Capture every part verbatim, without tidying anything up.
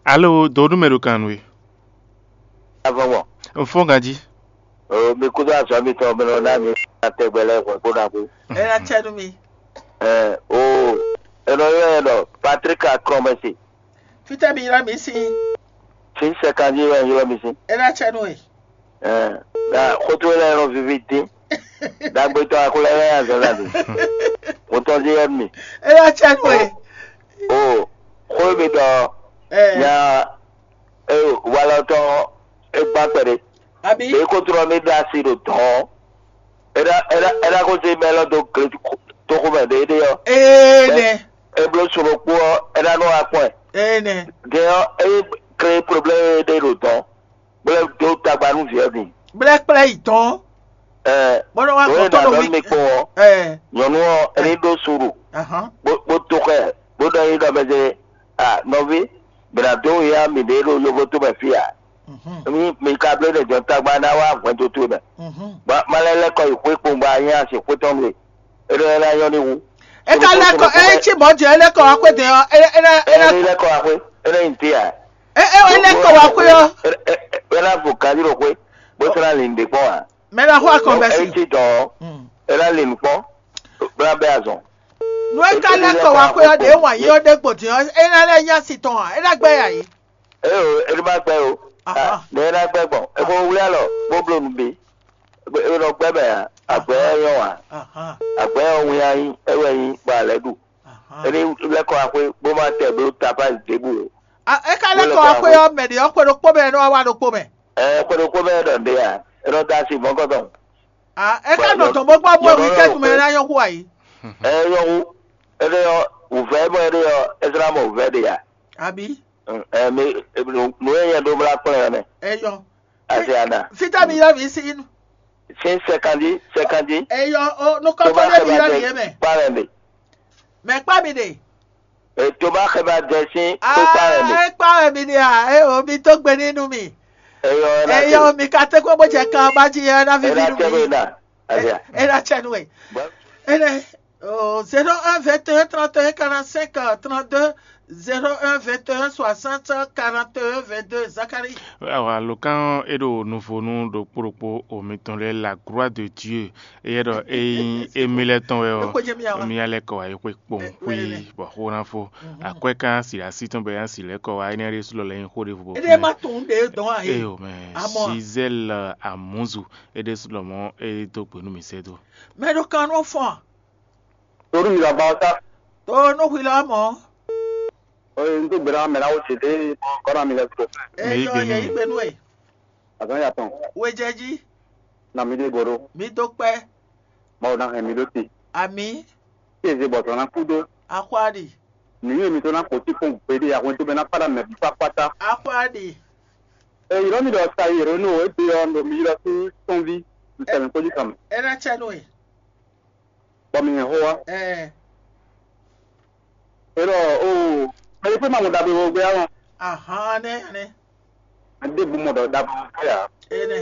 Alo, dǒ nú mɛ ɖo kan nú we. Avɔgbɔn. Un fɔ́n ganjí. O, mi kúdó azɔ̌ mitɔn mi nɔ ná mi tɛgbɛ lɛ́ɛ hwɛ̌ kó ná kú. Ɛ ná cɛ nú mi. Ɛ o, è nɔ ylɔ́ ɛ ɖɔ Patrick Akrɔmɛsi. Fítɛ́ mi ylɔ́ mi sín. Fí sɛkanjí wɛ ylɔ́ mi sín. Ɛ ná cɛ nú we. Ɛ, na xótó lɛ́ɛ nɔ vivi dín. Dagbe tɔn akó lɛ́ɛ lɛ́ɛ azɔ̌ zan mi. Mo tɔn dín yɛ mi. Ɛ ná cɛ nú we. O, xó mi ɖɔ. Ɛ. Nya. Ee, walɔ tɔn e gba kpɛɖe. Abi. Be ko trɔ mi ɖo asi ɖo dɔn. Ena ena ena ko se mɛ lɔ do gle toxo mɛ ɖe ɖe ɔ. Ee nɛ. E blo soro kpo ɔ, ena nɔ akpɔn. Ee nɛ. Gɛ ɔ, e kre problème ɖe ɖo dɔn. Gblɛ do tagba nú viɛ mi. Gblɛ kplɛ yi dɔn. Ɛ. Bɔnɔ wa gbɔ tɔn ɖo mi kpɔn ɔ. Ɛ. Nyɔnu ɔ, eni ɖo suru. Ahan. Bo bo to xɛ, bo ɖɔ yi ɖɔ mɛ se. Ah, nɔvi, mǐ ná dó ya mǐɖée ɖo yovótomɛ fí ǎ. Mi mi ka bló ɖe jɔn tagba ná wá hwɛndo towe mɛ. Bɔ má lɛ́ lɛ́ kɔ yi xwé kpowun bɔ a nyí asi xwé tɔn nú we. É ɖɔ é ná nyɔ́ ní wú. É ka lɛ́ kɔ é cí mɔ̌ jɛ é lɛ́ kɔ wá xwé dɛ ɔ́, é é ná é ná Ɛni lɛ́ kɔ wá xwé, é ná nyi dé ǎ. É é é lɛ́ kɔ wá xwé ɔ́. É ná vo ganjí ɖo xwé, bó sɔ́ ná lin ɖě kpɔ́n ǎ. Mɛ ná xɔ akɔn bɛ É si. Cí dɔn ɔ́, é ná lin nǔ kpɔ́n, bó ná bɛ́ azɔn. Nú é ka lɛ́ kɔ wá xwé ɔ́, ɖě wǎn yí ɔ́ ɖé gbòdì ɔ́, é ná lɛ́ nyí asi tɔn ǎ, é ná gbɛ́ yǎ yí. Ée o, é ní ma gbɛ́ o. Aha. Ní é ná gbɛ́ gbɔn. É ko wlí alɔ, bó bló nǔ bí. É nɔ gbɛ́ mɛ ǎ. Agbɛ̌ ɔ́ nyɔ́ ǎ. Aha. Agbɛ̌ ɔ́ wín ayí, é wɛ nyí bɔ a lɛ́ ɖu. Aha. É ní lɛ́ kɔ axwé, bó má tɛ bló tapázi ɖěbǔ o. A- É ka lɛ́ kɔ wá xwé ɔ́, mɛ ɖě ɔ́ xwe ɖokpó mɛ, é nɔ wá wá ɖokpó mɛ. Ɛ xwe ɖokpó mɛ ɖɔ ɖě ǎ. É nɔ dó asi mɔ̌kɔtɔn. A- É ka nɔ tɔn bó gbɔ bó wí kɛ́ tún mɛ ná nyɔ́ xú ayí. Ɛ nyɔ́ xú. Éɖée ɔ́, wǔvɛ́ mɔ éɖée ɔ́, é zlá mɔ wǔvɛ́ ɖě ǎ. Abi. Ɛ mi nǔ e nyɛ ɖó mlá kplɔ́n ɛ mɛ. Eyɔ. Asi ana. Fita mi yɔ mi si nu. Sin sɛkandi sɛkandi. Eyɔ o nukɔntɔ ɖe mi yɔ mi yɛ mɛ. Kpa wɛ mi. Mɛ kpa mi ɖe. Ètò bá xɛ bá jẹ sín tó kpa wɛ mi. Aa kpa wɛ mi ɖe a e o mi tó gbe nínú mi. Eyɔ ɛ na eyɔ mi ka tɛ kó bó jɛ kan bá jí ɛ na vivi nú mi. Ɛ na tẹ bó na. Ɛ na tẹ nu ɛ. Ɛ na. Oh, zéro un vingt et un trente et un quarante-cinq trente-deux, zéro un vingt et un soixante quarante et un vingt-deux, Zacharie. Awa lǒkan ɔ́, é ɖo nuvonu ɖokpó ɖokpó o mitɔn lɛ́ɛ la gloire de Dieu. Éyɛ́ ɖɔ é nyí émí lɛ́ɛ tɔn wɛ ɔ́, mía lɛ́ kɔ wá yi xwé kpowun xwí bɔ xó ná fó. Akwɛ́ kan si así tɔn bɛ yá si lɛ́ kɔ wá énɛ́ ɖésú lɔ lɛ́ nyí xó ɖěvo bɔ. Éɖée má tunwun ɖě dɔn ǎ é. Éyo mɛ Gisèle Amuzu é ɖésú lɔ mɔ̌ é dó gbe nú mì sɛ́ dó. Mɛ ɖo kan nɔ fɔn. Torí mi làbá ọtá. Tó nú hwi lɔ mɔ̌. Oye, n tó gbéra mɛ náwó tete kɔrɔ mi lɛ tó. Eyɔ yɛ yí gbe nú ɛ. Azɔn ya tɔn. Wejɛji. Na mi ɖe goro. Mi dó kpɛ. Mawu na hɛn mi ɖó te. Ami. Tí eze bɔtɔ na kú dó. Axwáɖi. Nǔnyi mi tó na kpó tí kpɔn gbéɖé ahwɛn tó bɛ na kpáɖá mɛ bí kpákpátá. Axwáɖi. Èyí lɔ mi ɖɔ sa yèrè nú o ébé ɔ nɔ mi ylɔ́ sí tɔnví. Nsɛmɛ kpójú kan mɛ. Ɛ ná tsɛ nú ɛ. Bɔ mi hɛn xó wá. Ɛɛ. Erɔ o mɛ ɖé pé ma mɔ ɖagbe wɔ gbé alɔ. Ahan nɛ nɛ. Ade bu mɔ ɖɔ ɖagbe wɔ gbé a. Enɛ.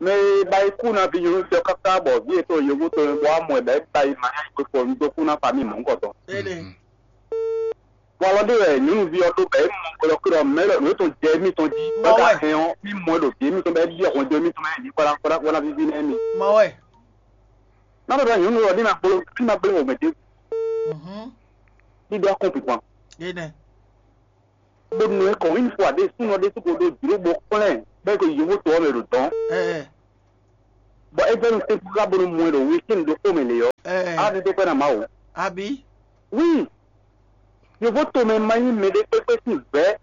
Mɛ e ba yi kú na vi nyɔnu tɛ káká bɔ vi etɔn yevu tɔn bɔ amɔ ɛ bɛ ba yi ma yá yi kpekpɔ nu dó kú na fa mi mɔ ŋkɔtɔn. Enɛ. Walɔ ɖé wɛ nyɔnuví ɔ́ ɖó bɔ é mɔ xwlɔ́kúɖɔ mɛ lɔ nǔ e tɔn jɛ émítɔn jí bɔ é ka hɛn ɔ́, mí mɔ ɛ ɖo vǐ émítɔn bɔ é byɔ́ hwɛndo émítɔn mɛ ní kpɔ́ɖá kpɔ́ɖá kpɔ́ɖá víví nɛ́ mì. Mɔ wɛ. Má ɖɔ ɖɔ nyɔnu ɔ́ ní ma gbló ní ma gbló wɔ mɛ ɖěbǔ. Ní ɖó akɔ́n pipɔn. Énɛ́. Bó nɔ ɛ kɔn wíní fo aɖé súnɔ ɖé súnko ɖó jlǒ bó kplɛ́n bɔ é ko yi yǒhó to ɔ́ mɛ ɖo dɔ̌n. Ɛɛ. Bɔ é vɛ́ nu tɛ́ntin ká bónú mɔ ɛ ɖo wěkwín ɖokpó mɛ lě ɔ́, Ɛɛ. Á ɖe dó kpɛ́ ná Mawu. Abǐ. Wí, yǒhó tomɛ ma nyí mɛɖé kpékpé sín vɛ̌.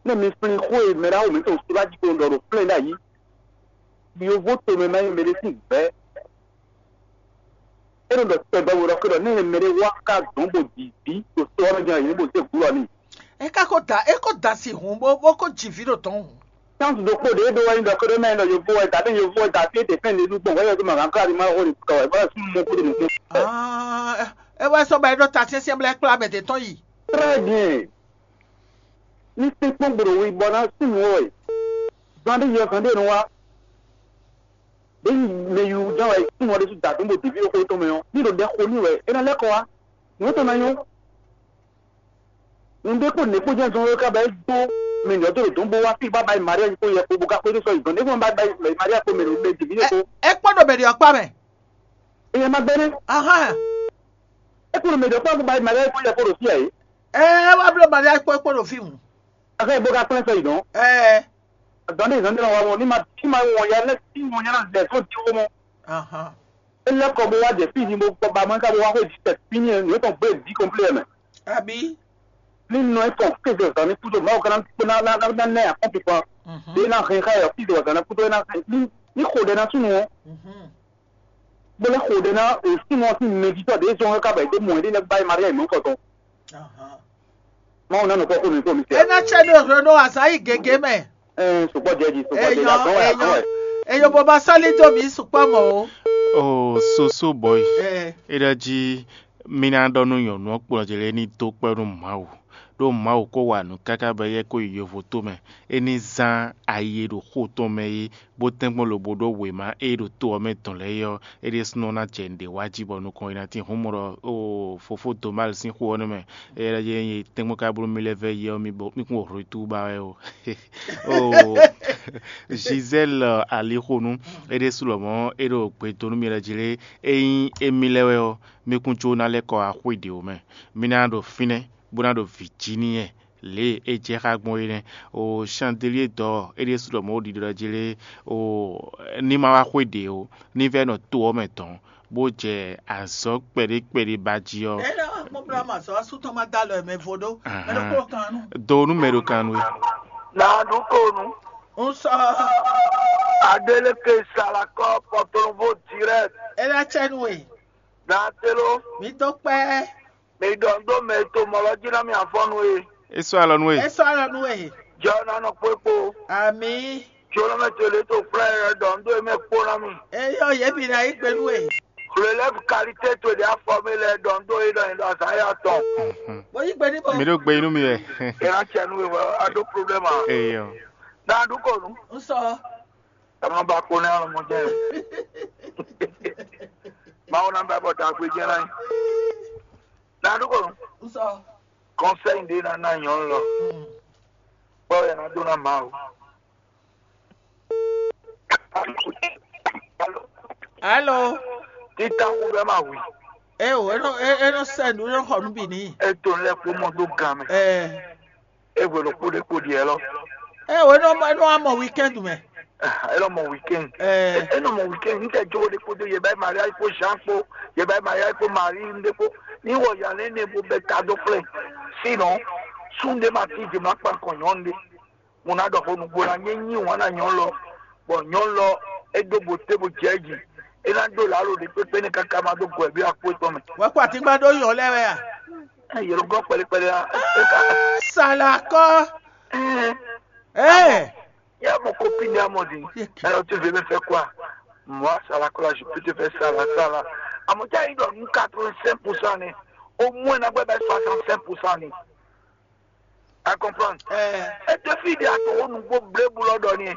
Nɛ́ mi flín xó e mɛ ɖaxó mǐtɔn Sulaji ko ɖɔ ɖo flɛ́n ɖ'ayǐ. Yǒhó tomɛ ma nyí mɛɖé sín vɛ̌. É nɔ ɖɔ tɛgbɛ we ɖɔ xé ɖɔ nɛ́ mɛɖé wá ká dɔ̌n bó ji vǐ ɖo to ɔ́ mɛ jɛ́n yě bó zé gǔ lɔ n'i. É ka ko da é ko da si hǔn bó bó ko ji vǐ ɖo dɔ̌n hǔn. Chance ɖokpó ɖě ɖó wɛ nyí ɖɔ xé ɖɔ mɛ nyí ɖɔ yovó wɛ da ɖé yovó wɛ da fí é ɖe fɛn ɖé ɖu gbɔn wɛ yɛ ɖo mɛ gǎn kárí má xó ɖe kɔ wɛ bá sún mɔ kúɖo nukún. Ah, é wɛ sɔ bɔ é ɖo ta syɛ́nsyɛ́n bla é kplá mɛ ɖě tɔn yi. Très bien. Ní kpínkpɔ́n gbòɖò wi bɔ ná sún nǔ wɛ. Zan ɖé yi ɔ zan ɖé nɔ wá. Ɖé yi mɛ yi wú ján wɛ sún wɛ ɖésú da dó bó ɖěví ɖokpó tɔn mɛ ɔ́, ní ɖo ɖɛ xo ní wɛ é ná lɛ́ kɔ wá. Nǔ tɔn ná nyɔ́. Un ɖe kpó nɛ̌ kpó jɛ́n zɔn wɛ ká ba é dó mɛ nǔ ɔ́ dó ɖo dɔ̌n bó wá fí bá ba yi Maria kpó yɛ kpó bó ká xwedó sɔ yi dɔ̌n. Nɛ̌ kpó ba ba yi Maria kpó mɛ ɖo mɛ dǐví kpó. É kpɔ́ ɖo mɛ ɖě ɔ́ kpá mɛ. Eye ma gbɛ́ nɛ́. Ahán. É kpó ɖo mɛ ɖě ɔ́ kpá bó ba yi Maria kpó yɛ kpó ɖo fí ǎ é. Ɛ wá bló Maria kpó kpó ɖo fí mu. Axɛ bó ká kplɛ́n sɔ yi dɔ̌n. Ɛ Dɔ̌n ɖé zɔn ɖé nɔ wa mɔ ní ma ní ma wɔn ya lɛ́ ní wɔn ya ná lɛ fó dín xó mɔ. Ahán. É lɛ́ kɔ bó wá jɛ fí din bó kɔ ba mɔ ká bó wá xwé jǐ tɛ fínɛ́ nǔ tɔn gbé bǐ kɔnplé mɛ. Abí. Ní nɔ é kɔn kéze zan ní kúdó Mawu ká ná ná ná ná ná ná akɔ́npi kpan. Bí é ná hɛn xá yɛ fí zɔn zan ná kúdó é ná hɛn ní ní xo ɖɛ ná súnnu ɔ́. Bó lɛ́ xo ɖɛ ná súnnu ɔ́ sín mɛjitɔ́ ɖě zɔn ká bɔ é dó mɔ é ɖé lɛ́ bá é Maria yi mɔ̌kɔ tɔn. Mawu ná nɔ kpɔ́ xó mi kpó mi É ná cɛ ɖo hwenu azǎn yi gěgé mɛ. Ɛɛ sukpɔ jɛ ji sukpɔ jɛ ji Eyɔn azɔn wɛ azɔn eyɔn wɛ. Eyɔn bó ba sɔ́ lí dó mǐ sukpɔ́ mɔ̌ ó. O soso bɔyi Ɛɛ. É ɖɔ jí mí ná ɖɔ nú nyɔ̌nu ɔ́ kplɔ́n jɛ lɛ́ɛ ní dó kpɛ́ nú Mawu, ɖó Mawu ko wa nǔ káká bɔ éyɛ́ ko yi yovo tomɛ. É ní zán ayi e ɖo xó tɔn mɛ é, bó tɛ́nkpɔ́n lobo ɖó wěma e ɖo to ɔ́ mɛ dɔn lɛ́ɛ é ɔ́, é ɖésúnɔ ná jɛ nǔɖé wa jí bɔ nukɔn yi ná tín hǔn mɔ ɖɔ oo fofó Domal sín xó ɔ́ nɛ́ mɛ. Éyɛ́ ɖɔ jɛ́n nyí tɛ́nkpɔ́n ka bló mì lɛ́ vɛ́ yi ɔ́, mi bo mì kún wɔ hwetu ba wɛ ó. Oo Giselle alixonu é ɖésú lɔmɔ̌ é ɖo gbe dó nú mi lɛ́ jí lé, ényí émí lɛ́ wɛ ɔ́, mì kún jó ná lɛ́ kɔ wá xwé ɖě ó mɛ. Mì ná ɖo fínɛ́, bó ná ɖo vǐ jí n'i wɛ lě e é jɛ xá gbɔn é nɛ́. O Chandelier d'or é ɖésú lɔmɔ̌ ɖiɖɔ jí lé, o ní ma wá xwé ɖě ó, ní vɛ́ nɔ to ɔ́ mɛ dɔ̌n, bó jɛ azɔ̌ kpɛɖé kpɛɖé ba jí ɔ́. Ena akpɔkplɔ ama sɔ asútɔ ma da lɔ mɛ vo ɖó. Mɛ ɖo kplɔ kan nu. Do nú mɛ ɖo kan nú é. Na ɖu ko nu. Un sɔ. Adeleke Salakɔ Pɔtɔnvo direct. Ena cɛ nu e. Na telo. Mi dó kpɛ. Mi ɖɔ ŋ ɖó mɛ e to mɔ lɔ jí ná mi afɔnu e. É sɔ́ alɔ nú we. É sɔ́ alɔ nú we. Jɛ ɔ́ ná nɔ kpó é kpó. Ami. Jolɔmɛ to lě to kplá ɛ ɖɔ ŋ ɖó é mɛ kpó ná mi. Eyɔ yě bǐ ná yí gbe nú we. Relève qualité to ɖe afɔ mi lɛ ɖɔ ŋ ɖó é ɖɔ ɛ ɖɔ azǎn ya tɔn. Bó yí gbe ní bɔ. Mi ɖó gbe inú mi wɛ. Ɛ ná cɛ nú we wɛ a ɖó problème a. Eyɔ. Ná ɖu kɔ nu. N sɔ. Ɛ má ba kó ní alɔmɔjɛ. Mawu ná bɛ bɔ dagbe jɛ náà. Ná ɖu kɔ nu. N sɔ. Conseil ɖé ná ná nyɔ̌nu lɔ. Kpɔ́ ɛ ná dó ná Mawu. Alo. Títà kú bẹ́ẹ̀ máa wí. Ẹ o, ẹ nọ ẹ nọ sẹ nù ẹ nọ xɔ nù bì ní. Ẹ tó lẹ kó mọ tó gan mẹ. Ẹ. Ẹ wẹ lọ kpódé kpódé ẹ lọ. Ẹ o, ẹ nọ ẹ nọ amọ weekend mẹ. Ẹ lọ mọ weekend. Ẹ. Ẹ nọ mọ weekend. N tẹ jó de kpódé yẹ báyìí Maria kó Jean kpó yẹ báyìí Maria kó Marie ndé kpó. Ní wọ yàrá ní bó bẹ ta dó flẹ. Sinon, Sunday ma ti jẹ ma kpa kàn yàn ndé. Mo ná ɖɔ xó nǔgbó ná nyé nyi wǎn ná nyɔ̌nu lɔ, bɔ nyɔ̌nu lɔ é dó bo té bo jɛ jí. É ná ɖó lǎlo ɖé kpékpé ní káká má dó gɔ̌ bí akpó tɔn mɛ. Wɛ kó àtíngbá ɖó yàn lɛ wɛ a? Ɛ yɛlɛ gɔ́ kpɛlɛkpɛlɛ a? É ká. Salakɔ. Ɛ Ɛ yɛ mɔ kó pí ní amɔ di. Ɛ lɔ tí vě mɛ fẹ́ kó a? Mɔ salakɔ la je peux te faire ça là ça là. Àmọ́ tí a yí ɖɔ nú quatre-vingt-cinq pour cent ni. Au moins ná gbɛ bɛ soixante-cinq pour cent ni. A comprendre? Ɛ É te fi ɖe atɔn wo nugbo blebu lɔ ɖɔ ni.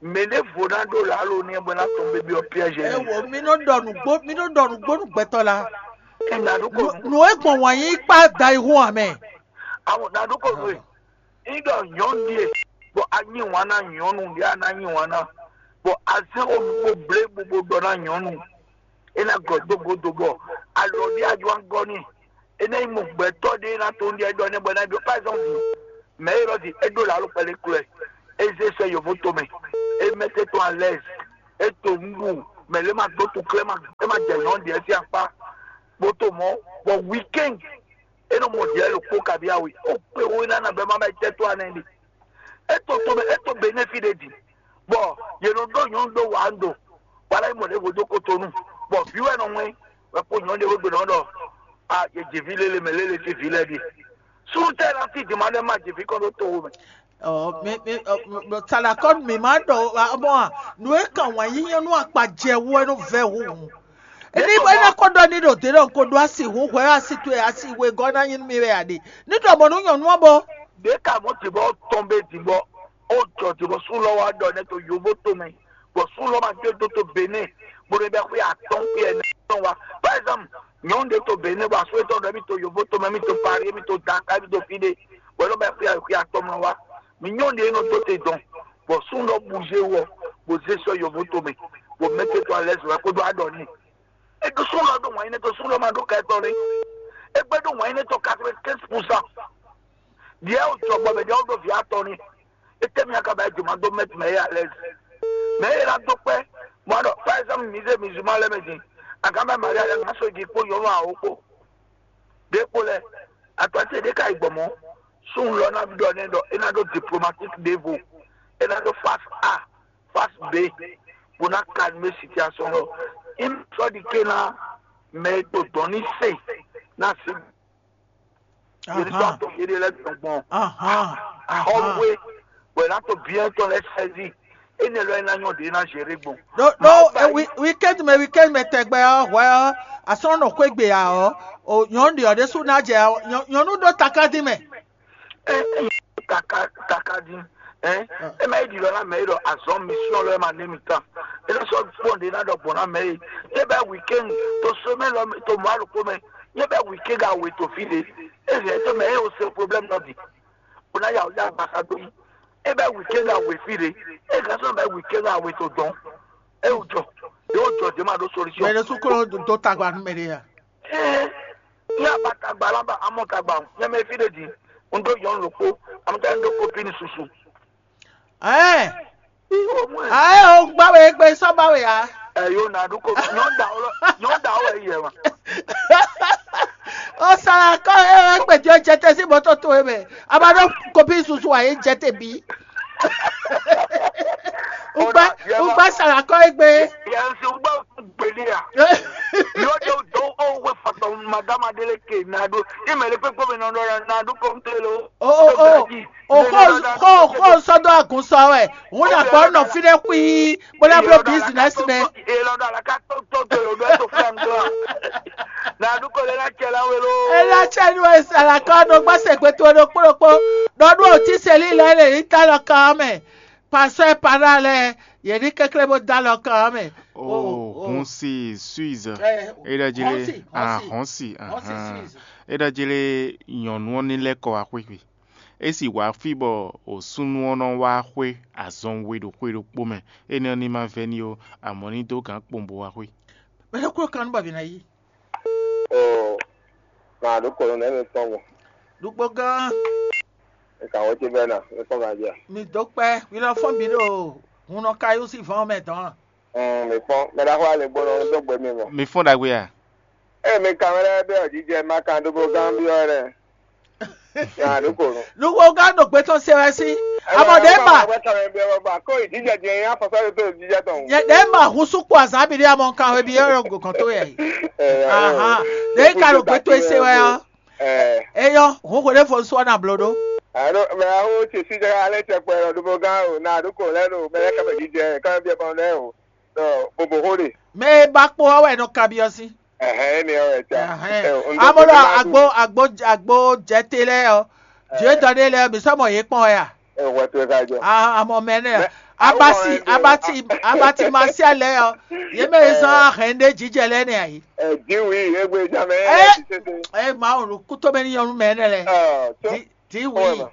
Mɛ ɖe vo ná ɖo lalo ni bɔ ná tɔn bébí ɔ piège ɛ ni. Wo mi nɔ ɖɔ nugbo mi nɔ ɖɔ nugbo nu gbɛtɔ la. Ɛ na ɖo ko nu. Nu e gbɔn wǎn yí kpa da yi hu amɛ. Awo na ɖo ko nu e. Yi ɖɔ nyɔnu ɖie bɔ a nyi wǎn na nyɔnu ɖe a na nyi wǎn na bɔ a zɛn wo nugbo blebu bo ɖɔ na nyɔnu. É ná gɔ̌ dó godo bɔ alɔ ɖé a jɔ gɔ́ n'i. É ná nyí mɔ gbɛtɔ́ ɖé ná to ɖiɛ ɖɔ nɛ́ bɔ é ná ɖɔ par exemple mɛ e lɔ di é ɖó lǎlo kpɛɖé klɔ́ ɛ, é zé sɛ yovo tomɛ, é mɛ tɛ́ tɔn alɛ́z, é to nǔɖuɖu mɛ lě ma dó tu klɛ́ ma é ma jɛ nyɔ̌nu ɖiɛ sín akpá bó to mɔ̌ bɔ weekend é nɔ mɔ ɖiɛ ɖokpó kabi awe ó kpé wó ná ná bɛ́ má bá yi tɛ́ tó anɛ ɖi. É to tomɛ é to Benin fí ɖé din, bɔ yě nɔ ɖó nyɔ̌nu ɖó wǎ ɖo wala yi mɔ ɖěvo dó Kotonu, bɔ vǐ wɛ nɔ ŋwɛ́ wɛ kpó nyɔ̌nu ɖěvo gbe nɔ ɖɔ a yě jɛ vǐ lélé mɛ lélé sín vǐ lɛ́ɛ ɖíe. Súnnu tɛ́ ná sí dǐma ɖé má jɛ vǐ kɔn ɖó towo mɛ. Ɔ mi mi ɔ, salakɔ mi ma ɖɔ mɔ a nu e kan wǎn yi nyɔnu akpa jɛ wú ɛ nɔ vɛ hu. Ní bɔ é ná kó ɖɔ ní ɖo dě ɖɔ un ko ɖó asi hu hwɛ asi towe asi wegɔ́ ná nyí nú mi wɛ a ɖe. Ní ɖɔ mɔ̌ nú nyɔ̌nu ɔ́ bɔ. Ɖě ka mɔ̌ ce bɔ tɔn bɛ dǐ bɔ ó jɔ dǐ bɔ sú lɔ wá ɖɔ nɛ́ to yovo tomɛ bɔ sú lɔ ma dé dó to Benin bó ɖo bɛ xwé atɔn xwé ɛnɛ tɔn wá. Par exemple, Nyɔ̌nu ɖé to Benɛ bɔ asú étɔn ɖɔ émí to Yovo tomɛ, émí to Paris, émí to Dakar, émí to fí ɖé, bɔ é nɔ bɛ́ xwé xwé atɔn mɛ wá. Mi nyɔ̌nu ɖé nɔ dó te dɔn, bɔ súnnu ɖɔ bouger wɔ, bó zé sɔ́ Yovo tomɛ, bó mɛtɛ to alɛ́zi wɛ kpódó aɖɔ n'i. É ɖó súnnu ɖɔ ɖó wǎn nyí nɛ́ tɔn, súnnu ɖɔ ma ɖó ka tɔn nɛ́. É gbɛ́ ɖó wǎn nyí nɛ́ tɔn quatre-vingt-quinze pour cent. Ɖiɛ wò jɔ gbɔ mɛ ɖiɛ wò ɖo vǐ atɔn n'i. Étɛ́ mi aka ba jǒ ma dó mɛtɛ mɛ é alɛ́zi? Mɛ é ná dó kpɛ́. Mɔ ɖɔ, par exemple, mi zé musulman lɛ́ɛ mɛ din. Aganmɛ Maria lɛ́ɛ ná sɔ́ ji kpó nyɔ̌nu awo kpó. Ɖě kpo lɛ, atɔ́ ce ɖé ka yi gbɔn mɔ̌. Súnnu lɔ ná ɖɔ nɛ́ ɖɔ é ná ɖó diplomatique ɖěvo. É ná ɖó face A, face B, bó ná calmer situation lɔ. Imi sɔ́ ɖi ké ná mɛ e to dɔn ní se ná sí. Yě ní sɔ́ Ahan. Atɔ́ yě ɖe lɛ́ɛ tɔn gbɔn. Ahan. Ahan. Xɔ́wé, bɔ è nǎ to bien tɔn lɛ́ɛ sɛ́zi. Énɛ́ lɔ é ná nyɔ́ ɖě ná gérer gbɔn. Ɖó ɖó Mawu ba e yí. Wi- weekend mɛ weekend mɛ tɛgbɛ ɔ́ hwɛ ɔ́ asɔ́nɔ xwé gbe ǎ ɔ́, o nyɔ̌nu ɖě ɔ́ ɖésú ná jɛ ɔ́, nyɔ- nyɔ̌nu ɖó taká dín mɛ. Ɛ ɛ kaka kaka dín. Ɛ ɛ má yi ɖi lɔ ná mɛ yi ɖɔ azɔn mission lɔ ɛ ma nɛ mi tán. É nɔ sɔ kpɔn ɖe ná ɖɔ gbɔn ná mɛ yi. Yé bɛ weekend to semaine lɔ to mɔ alukó mɛ. Yé bɛ weekend awe to fi ɖe. É hɛn to mɛ é o se problème nɔ di. O ná yà o yà gbasa dó yi. É bɛ weekend awe fi ɖe. É gán sɔ bɛ weekend awe to dɔn. É o jɔ. É o jɔ dé ma ɖó solution. Mɛ ɖé sú kó dó tagba nú mɛ ɖé ya. Ɛɛ, ní abatagba lɔ ba amɔ tagba o, nyɛ mɛ fi ɖe din, un dó yɔn loko, amɔ tɛ un dó kopini susu. Ɛɛ, Iwo mɔ ɛ. Ayi o gba we gbe sɔ ba we ya. Ɛyó na ɖu ko nyɔ da wɔ nyɔ da wɔ yɛ ma. O sara kɔ e we gbe jɔ jɛtɛ si bɔtɔ to e mɛ. Aba ɖo kopi susu wa ye jɛtɛ bi. Ugba ugba sara kɔ e gbe. Yɛn si ugba gbeli ya. Yóò dé o dɔn o wé fɔtɔ madama délé ke na ɖo. Imɛ lé kpékpé mi nɔ ɖɔ na ɖo kɔmtɛ lo. O o o o xo xo xo sɔdɔ agun sɔ wɛ. Ŋun na gbɔ nɔ fi ɖe kui. Bó ná bló business mɛ. Elɔdɔ alaka tó tó tó lo bɛ tó fɛn tó. Na ɖu ko lé na cɛ la wé lo. Ela cɛ nu esa la kɔ nɔ gbɔ se gbe to ɖo kpó ɖokpó. Ɖɔ ɖu o ti seli lɛ le yi ta lɔ kan mɛ. Pasɔ para lɛ yɛ ni kékeré bó da lɔ kan mɛ. O hun si Suisse. E ɖɔ jí lé ahɔn si. E ɖɔ jí lé nyɔnu ɔ́ ní lɛ́ kɔ wá xwé xwé. É sì wá fí bɔ òsúnú ɔ́ nɔ wá xwé azɔn we ɖo xwé ɖokpó mɛ. Énɛ́ ɔ́ ní ma vɛ́ ní ó, amɔ̌ ní dó gǎn kpowun bó wá xwé. Mɛ ɖokpó kan nú bɔ vǐ ná yí. Oo, màɖó kɔlɔnɛ́ mi tɔn mɔ. Ɖukpó gán. Eka wɔ ce bɛ na, mi fɔn ma bia. Mi dó kpɛ, mi lɔ fɔn bǐ ɖo hun nɔ ka yó sí vɔn mɛ dɔn. Mm, mi fɔn, mɛ ɖaxó ale gbɔnɔ dó gbe mi mɔ. Mi fɔn ɖagbe a? Eye mi kan wɛ lɛ́ɛ bɛ ɔjijɛ ma kan ɖokpó gán byɔ́ lɛ. Màɖó kɔlɔn. Ɖukpó gán ɖo gbé tɔn se wɛ sí. Amɔ ɖě ma. Kó ìdíjẹ jẹ yín afɔsá ló tó ìdíjẹ tɔn. Yɛ ɖě ma hun sú kpó azǎn bǐ ɖé amɔ kan wɛ byɔ́ lɔ gɔn tó yɛ. Ahan. Ɖě ka ɖo gbé tó se wɛ ɔ́. Eyɔ, hun xwe ɖé fo sɔ na blo ɖó. Alo mɛ awo ce si jɛ alɛ cɛ kpɛ lɔ ɖobo gán o na ɖo ko lɛ ɖo mɛ lɛ kɛmɛ jijɛ kɛmɛ biɛ kɔn lɛ o. Dɔ bobo xo ɖe. Mɛ e ba kpo ɔ́ wɛ nɔ kabyɔ sí. Ɛhɛn, énɛ́ ɔ́ wɛ ca. Amɔ ɖɔ agbo agbo agbo jɛte lɛ ɔ, jɛ dɔ ɖe lɛ mi sɔ mɔ yé kpɔn ya. Ɛhwɛ to ka jɔ. Amɔ mɛ nɛ. Abati abati abati masia lɛ ɔ, yé mɛ zɔn ahɛn ɖe jijɛ lɛ nɛ ayi. Ɛ diwi egbe jamɛ. Ɛ ɛ ma o kútó mɛ ní yɔnu mɛ nɛ lɛ. Di wi.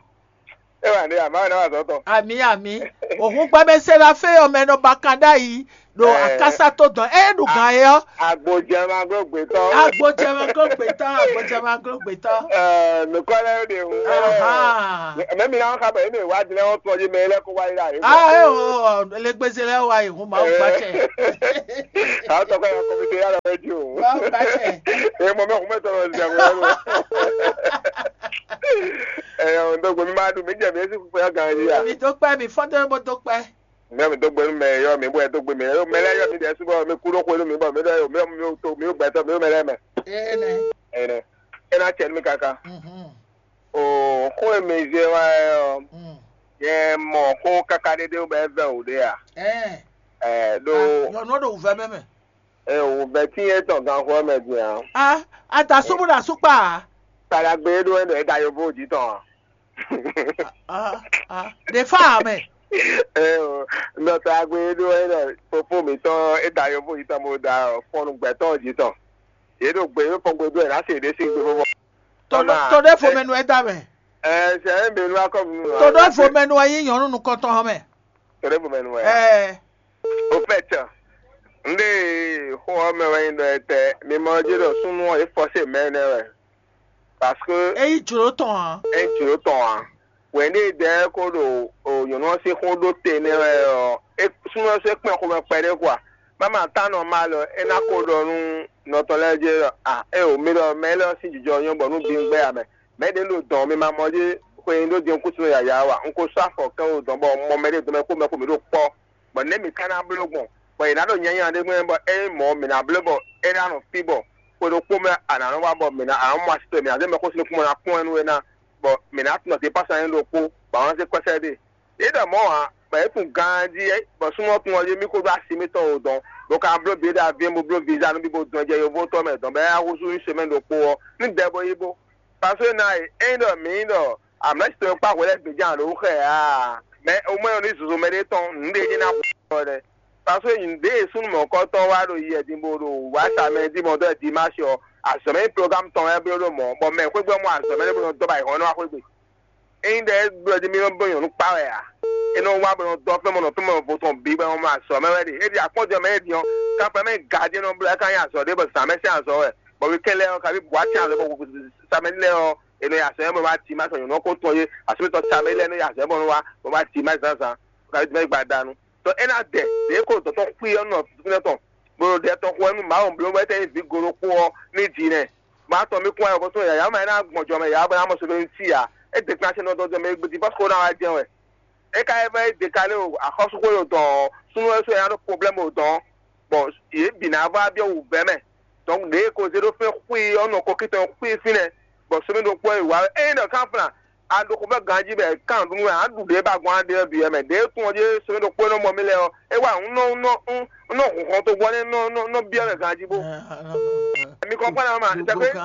E wà ní àmà náà wà sọ́tọ̀. Àmì àmì. Òhun gbàmẹsẹ la fẹ́ ọmọ ẹnọ bàkàndá yìí. Ɖo akásá tó dɔn ɛ ɖo gan yɛ ɔ. Agbojɛma gbogbo tɔ. Agbojɛma gbogbo tɔ agbojɛma gbogbo tɔ. Nukɔ lɛ de o. Mɛ mi na xa bɛ emi wa di lɛ wɔn tɔ yi mɛ lɛ ko wa yi la yi. Ah ɛ o legbeze lɛ wa yi hun ma gba cɛ. Awo tɔ kɔ ya kɔmite ya lɛ wɛ di o. Ma gba cɛ. E mɔ mɛ kun mɛ tɔ lɔ zɛ wɛ lo. Ɛ o ndo gbe mi ma dun mi jɛ mi esi kukpe ya gan yi ya. Mi do kpɛ mi fɔ do bo do kpɛ. Mi mi dó gbe nú mɛ e ylɔ́ mi bɔ é dó gbe mi é. Mɛ lɛ́ɛ ylɔ́ mi ɖɛ̌ sú bɔ mi kú ɖó xwé nú mi bɔ mi ɖɔ mi mi to mi gbɛtɔ́ mi mɛ lɛ́ɛ mɛ. Énɛ́. Énɛ́. É ná cɛ nú mi káká. Oo xó e mi zé wá ɛ ɔ́, nyɛ mɔ xó káká ɖé ɖé bɔ é vɛ́ wǔ ɖé a? Ɛ ɖó. Nyɔ̌nu ɖo wǔvɛ́ mɛ mɛ. Ɛ wǔvɛ́ tín é tɔn ganxó ɔ́ mɛ din ǎ. A a da súnmú ɖo asúkpa ǎ. Kpaɖagbe é ɖó é ɖɔ é da yovó jí tɔn ǎ. Ɖe fá ame. Nɔtɔ agbe ɖó ɛnɔ fofo mǐtɔn e da yovó yi tɔn bó da fɔnnu gbɛtɔ́ jí tɔn. Yě ɖo gbe yě fɔn gbe ɖó ɛ ná se ɖé sín gbe fɔfɔ. Tɔɖɔ fomɛnu ɛ da mɛ. Ɛ sɛ ɛ bɛ nu akɔ nu. Tɔɖɔ fomɛnu ɛ yí nyɔnu nukɔntɔn hɔn mɛ. Tɔɖɔ fomɛnu ɛ. Ɛɛ. Au fait, n ɖe xó ɔ́ mɛ wɛ nyi ɖɔ etɛ mi mɔ jí ɖɔ súnnu ɔ́ é fɔsé mɛ nɛ wɛ. Parce que Eyi jló tɔn a. Ŋutsu tɔn ǎ. Wɛ̌n ɖé dɛɛ ko ɖo nyɔ̌nu ɔ́ sín xó ɖó te nɛ́ wɛ ɔ́, é súnnu ɔ́ sɔ́ kpɛn xomɛ kpɛɖé kwa. Má ma tá nɔ má lɔ é ná ko ɖɔ nú nɔtɔn lɛ́ɛ jɛ ɖɔ a é o mi ɖɔ mɛ élɔ́ sín jijɔ nyɔ́ bɔ nú din gbɛ́ ǎ mɛ. Mɛ̌ ɖě ɖo dɔn mi ma mɔ jí xwe nyi ɖó din kúsinɔ yǎyá wa? Un ko sɔ́ afɔ kɛ́ wo dɔn bɔ un mɔ mɛɖé dɔn mɛ kó mɛ kó mǐ ɖo kpɔ́. Bɔ nɛ̌ mǐ ka ná bló gbɔn? Bɔ è nǎ ɖo nyanya ɖé gbɔn bɔ ényí mɔ̌ mǐ ná bló bɔ é ná nɔ fí bɔ xwe ɖokpó mɛ a nǎ nɔ wá bɔ mǐ ná a nɔ mɔ asi towe mǐ ná zé mɛxó sín kún bɔ ná kpɔ́n ɛ nú we ná, bɔ mǐ ná tunɔ dépasɔ anyi ɖokpó, bɔ a nɔ zé kɔ́sɛ́ ɖe. Yě ɖɔ mɔ̌ ǎ, bɔ é tunwun ganjí bɔ súnnu ɔ́ tunwun ɔ́ jí mí kó ɖó asi mitɔn o dɔn, bó ka bló bǐ ɖo aví bó bló viza nú bí bó dɔn jɛ yovótɔ́ mɛ dɔn bɔ é ná húzú nyi semɛ́ni ɖokpó ɔ́, ní dɛ bó yí bó. Pasó ná e, ényí ɖɔ mǐ nyí ɖɔ amlɛ́ tɔn e kpá hwɛ lɛ́ɛ gbějǎn ɖó xɛ ǎ, mɛ omwɛ́ ɔ́ ní zozo mɛɖé tɔn nǔɖé ní ná xɔ ɔ́ ɖɛ. Pasó nyi ɖě e súnnu mɔ̌kɔtɔn wá ɖo yi ɛdin bó ɖo wǎ sa mɛ dín mɔ dɔ́ dimási ɔ́, azɔ̌ mɛ nyí plogámu tɔn wɛ bló ɖó mɔ̌, bɔ mɛ xwégbé ɔ́ mɔ azɔ̌ mɛ ɖé bó nɔ dɔ́ ba ayǐhɔ́n nɔ wá xwégbé. Ényí ɖɔ é bló jí mì nɔ bó nyɔ̌nu kpá wɛ ǎ. É nɔ wá bó nɔ dɔ́ fɛ́n mɔ nɔ fɛ́n mɔ vo tɔn bǐ bɔ é nɔ mɔ azɔ̌ mɛ wɛ ɖe. É ɖi akpɔ́njɔ mɛ é ɖi ɔ́, kanfɛ mɛ ga jí é nɔ bló é ka nyí azɔ̌ ɖé bɔ zǎn mɛ sín azɔ̌ wɛ. Bɔ wikɛ́n lɛ́ɛ ɔ́, kabi bǔ wá sín azɔ̌ bɔ samɛ lɛ́ɛ ɔ́, è nɔ yi azɔ̌ mɛ bɔ wá ti má sɔ nyɔ̌nu ɔ́ kó tɔn yé, asúmítɔ́ samɛ lɛ́ɛ nɔ yi azɔ̌ mɛ bɔ nɔ wá bɔ wá ti má zǎnzǎn. Kabi mɛ gbadanu. Tɔ é ná dɛ ɖě ko dɔ̌ tɔn xwí ɔ́ nɔ fínɛ́ tɔn, bó ɖo ɖɛ tɔn xo wɛ nú Mawu bló wɛ tɛ́ nyí vǐ go ɖokpó ɔ́ ní jǐ nɛ́. Má tɔn mì kún ayɔ bɔtɔn yǎyá mɛ ná gbɔn jɔ mɛ yǎ bɔ ná mɔ sodó ní sí ǎ. É dě kpán sɛn nɔ dɔn jɔ mɛ gbedi pɔ́ kó ná wá jɛ́n wɛ. É ka é vɛ́ é dě ka lé o axɔ́súxwé o dɔn ɔ́, súnnu wɛ sú ɛ ná ɖó problème o dɔn ɔ́, bɔ yě bǐ ná vɔ abyɔ́ wǔvɛ́ mɛ. Donc ɖě e ko zé ɖó fɛ́n xwí ɔ́ nɔ kɔkí tɔn xwí fínɛ́, bɔ sɛmɛ ɖokpó e wǎ é nyí ɖɔ kánflán a ɖo xo fɛ́ ganjí bɔ è kan nǔɖuɖu wɛ a ɖu ɖě ba gbɔn aɖe ɔ́ bǐ wɛ mɛ. Ɖě e tunwun ɔ́ jí sɛmɛ ɖokpó e nɔ mɔ mì lɛ́ɛ ɔ́, é wá un nɔ un nɔ un nɔ hun xɔn togbɔ nɛ́ nɔ nɔ nɔ byɔ́ mɛ ganjí bó. Mi kɔn kpán ná ma, c'est que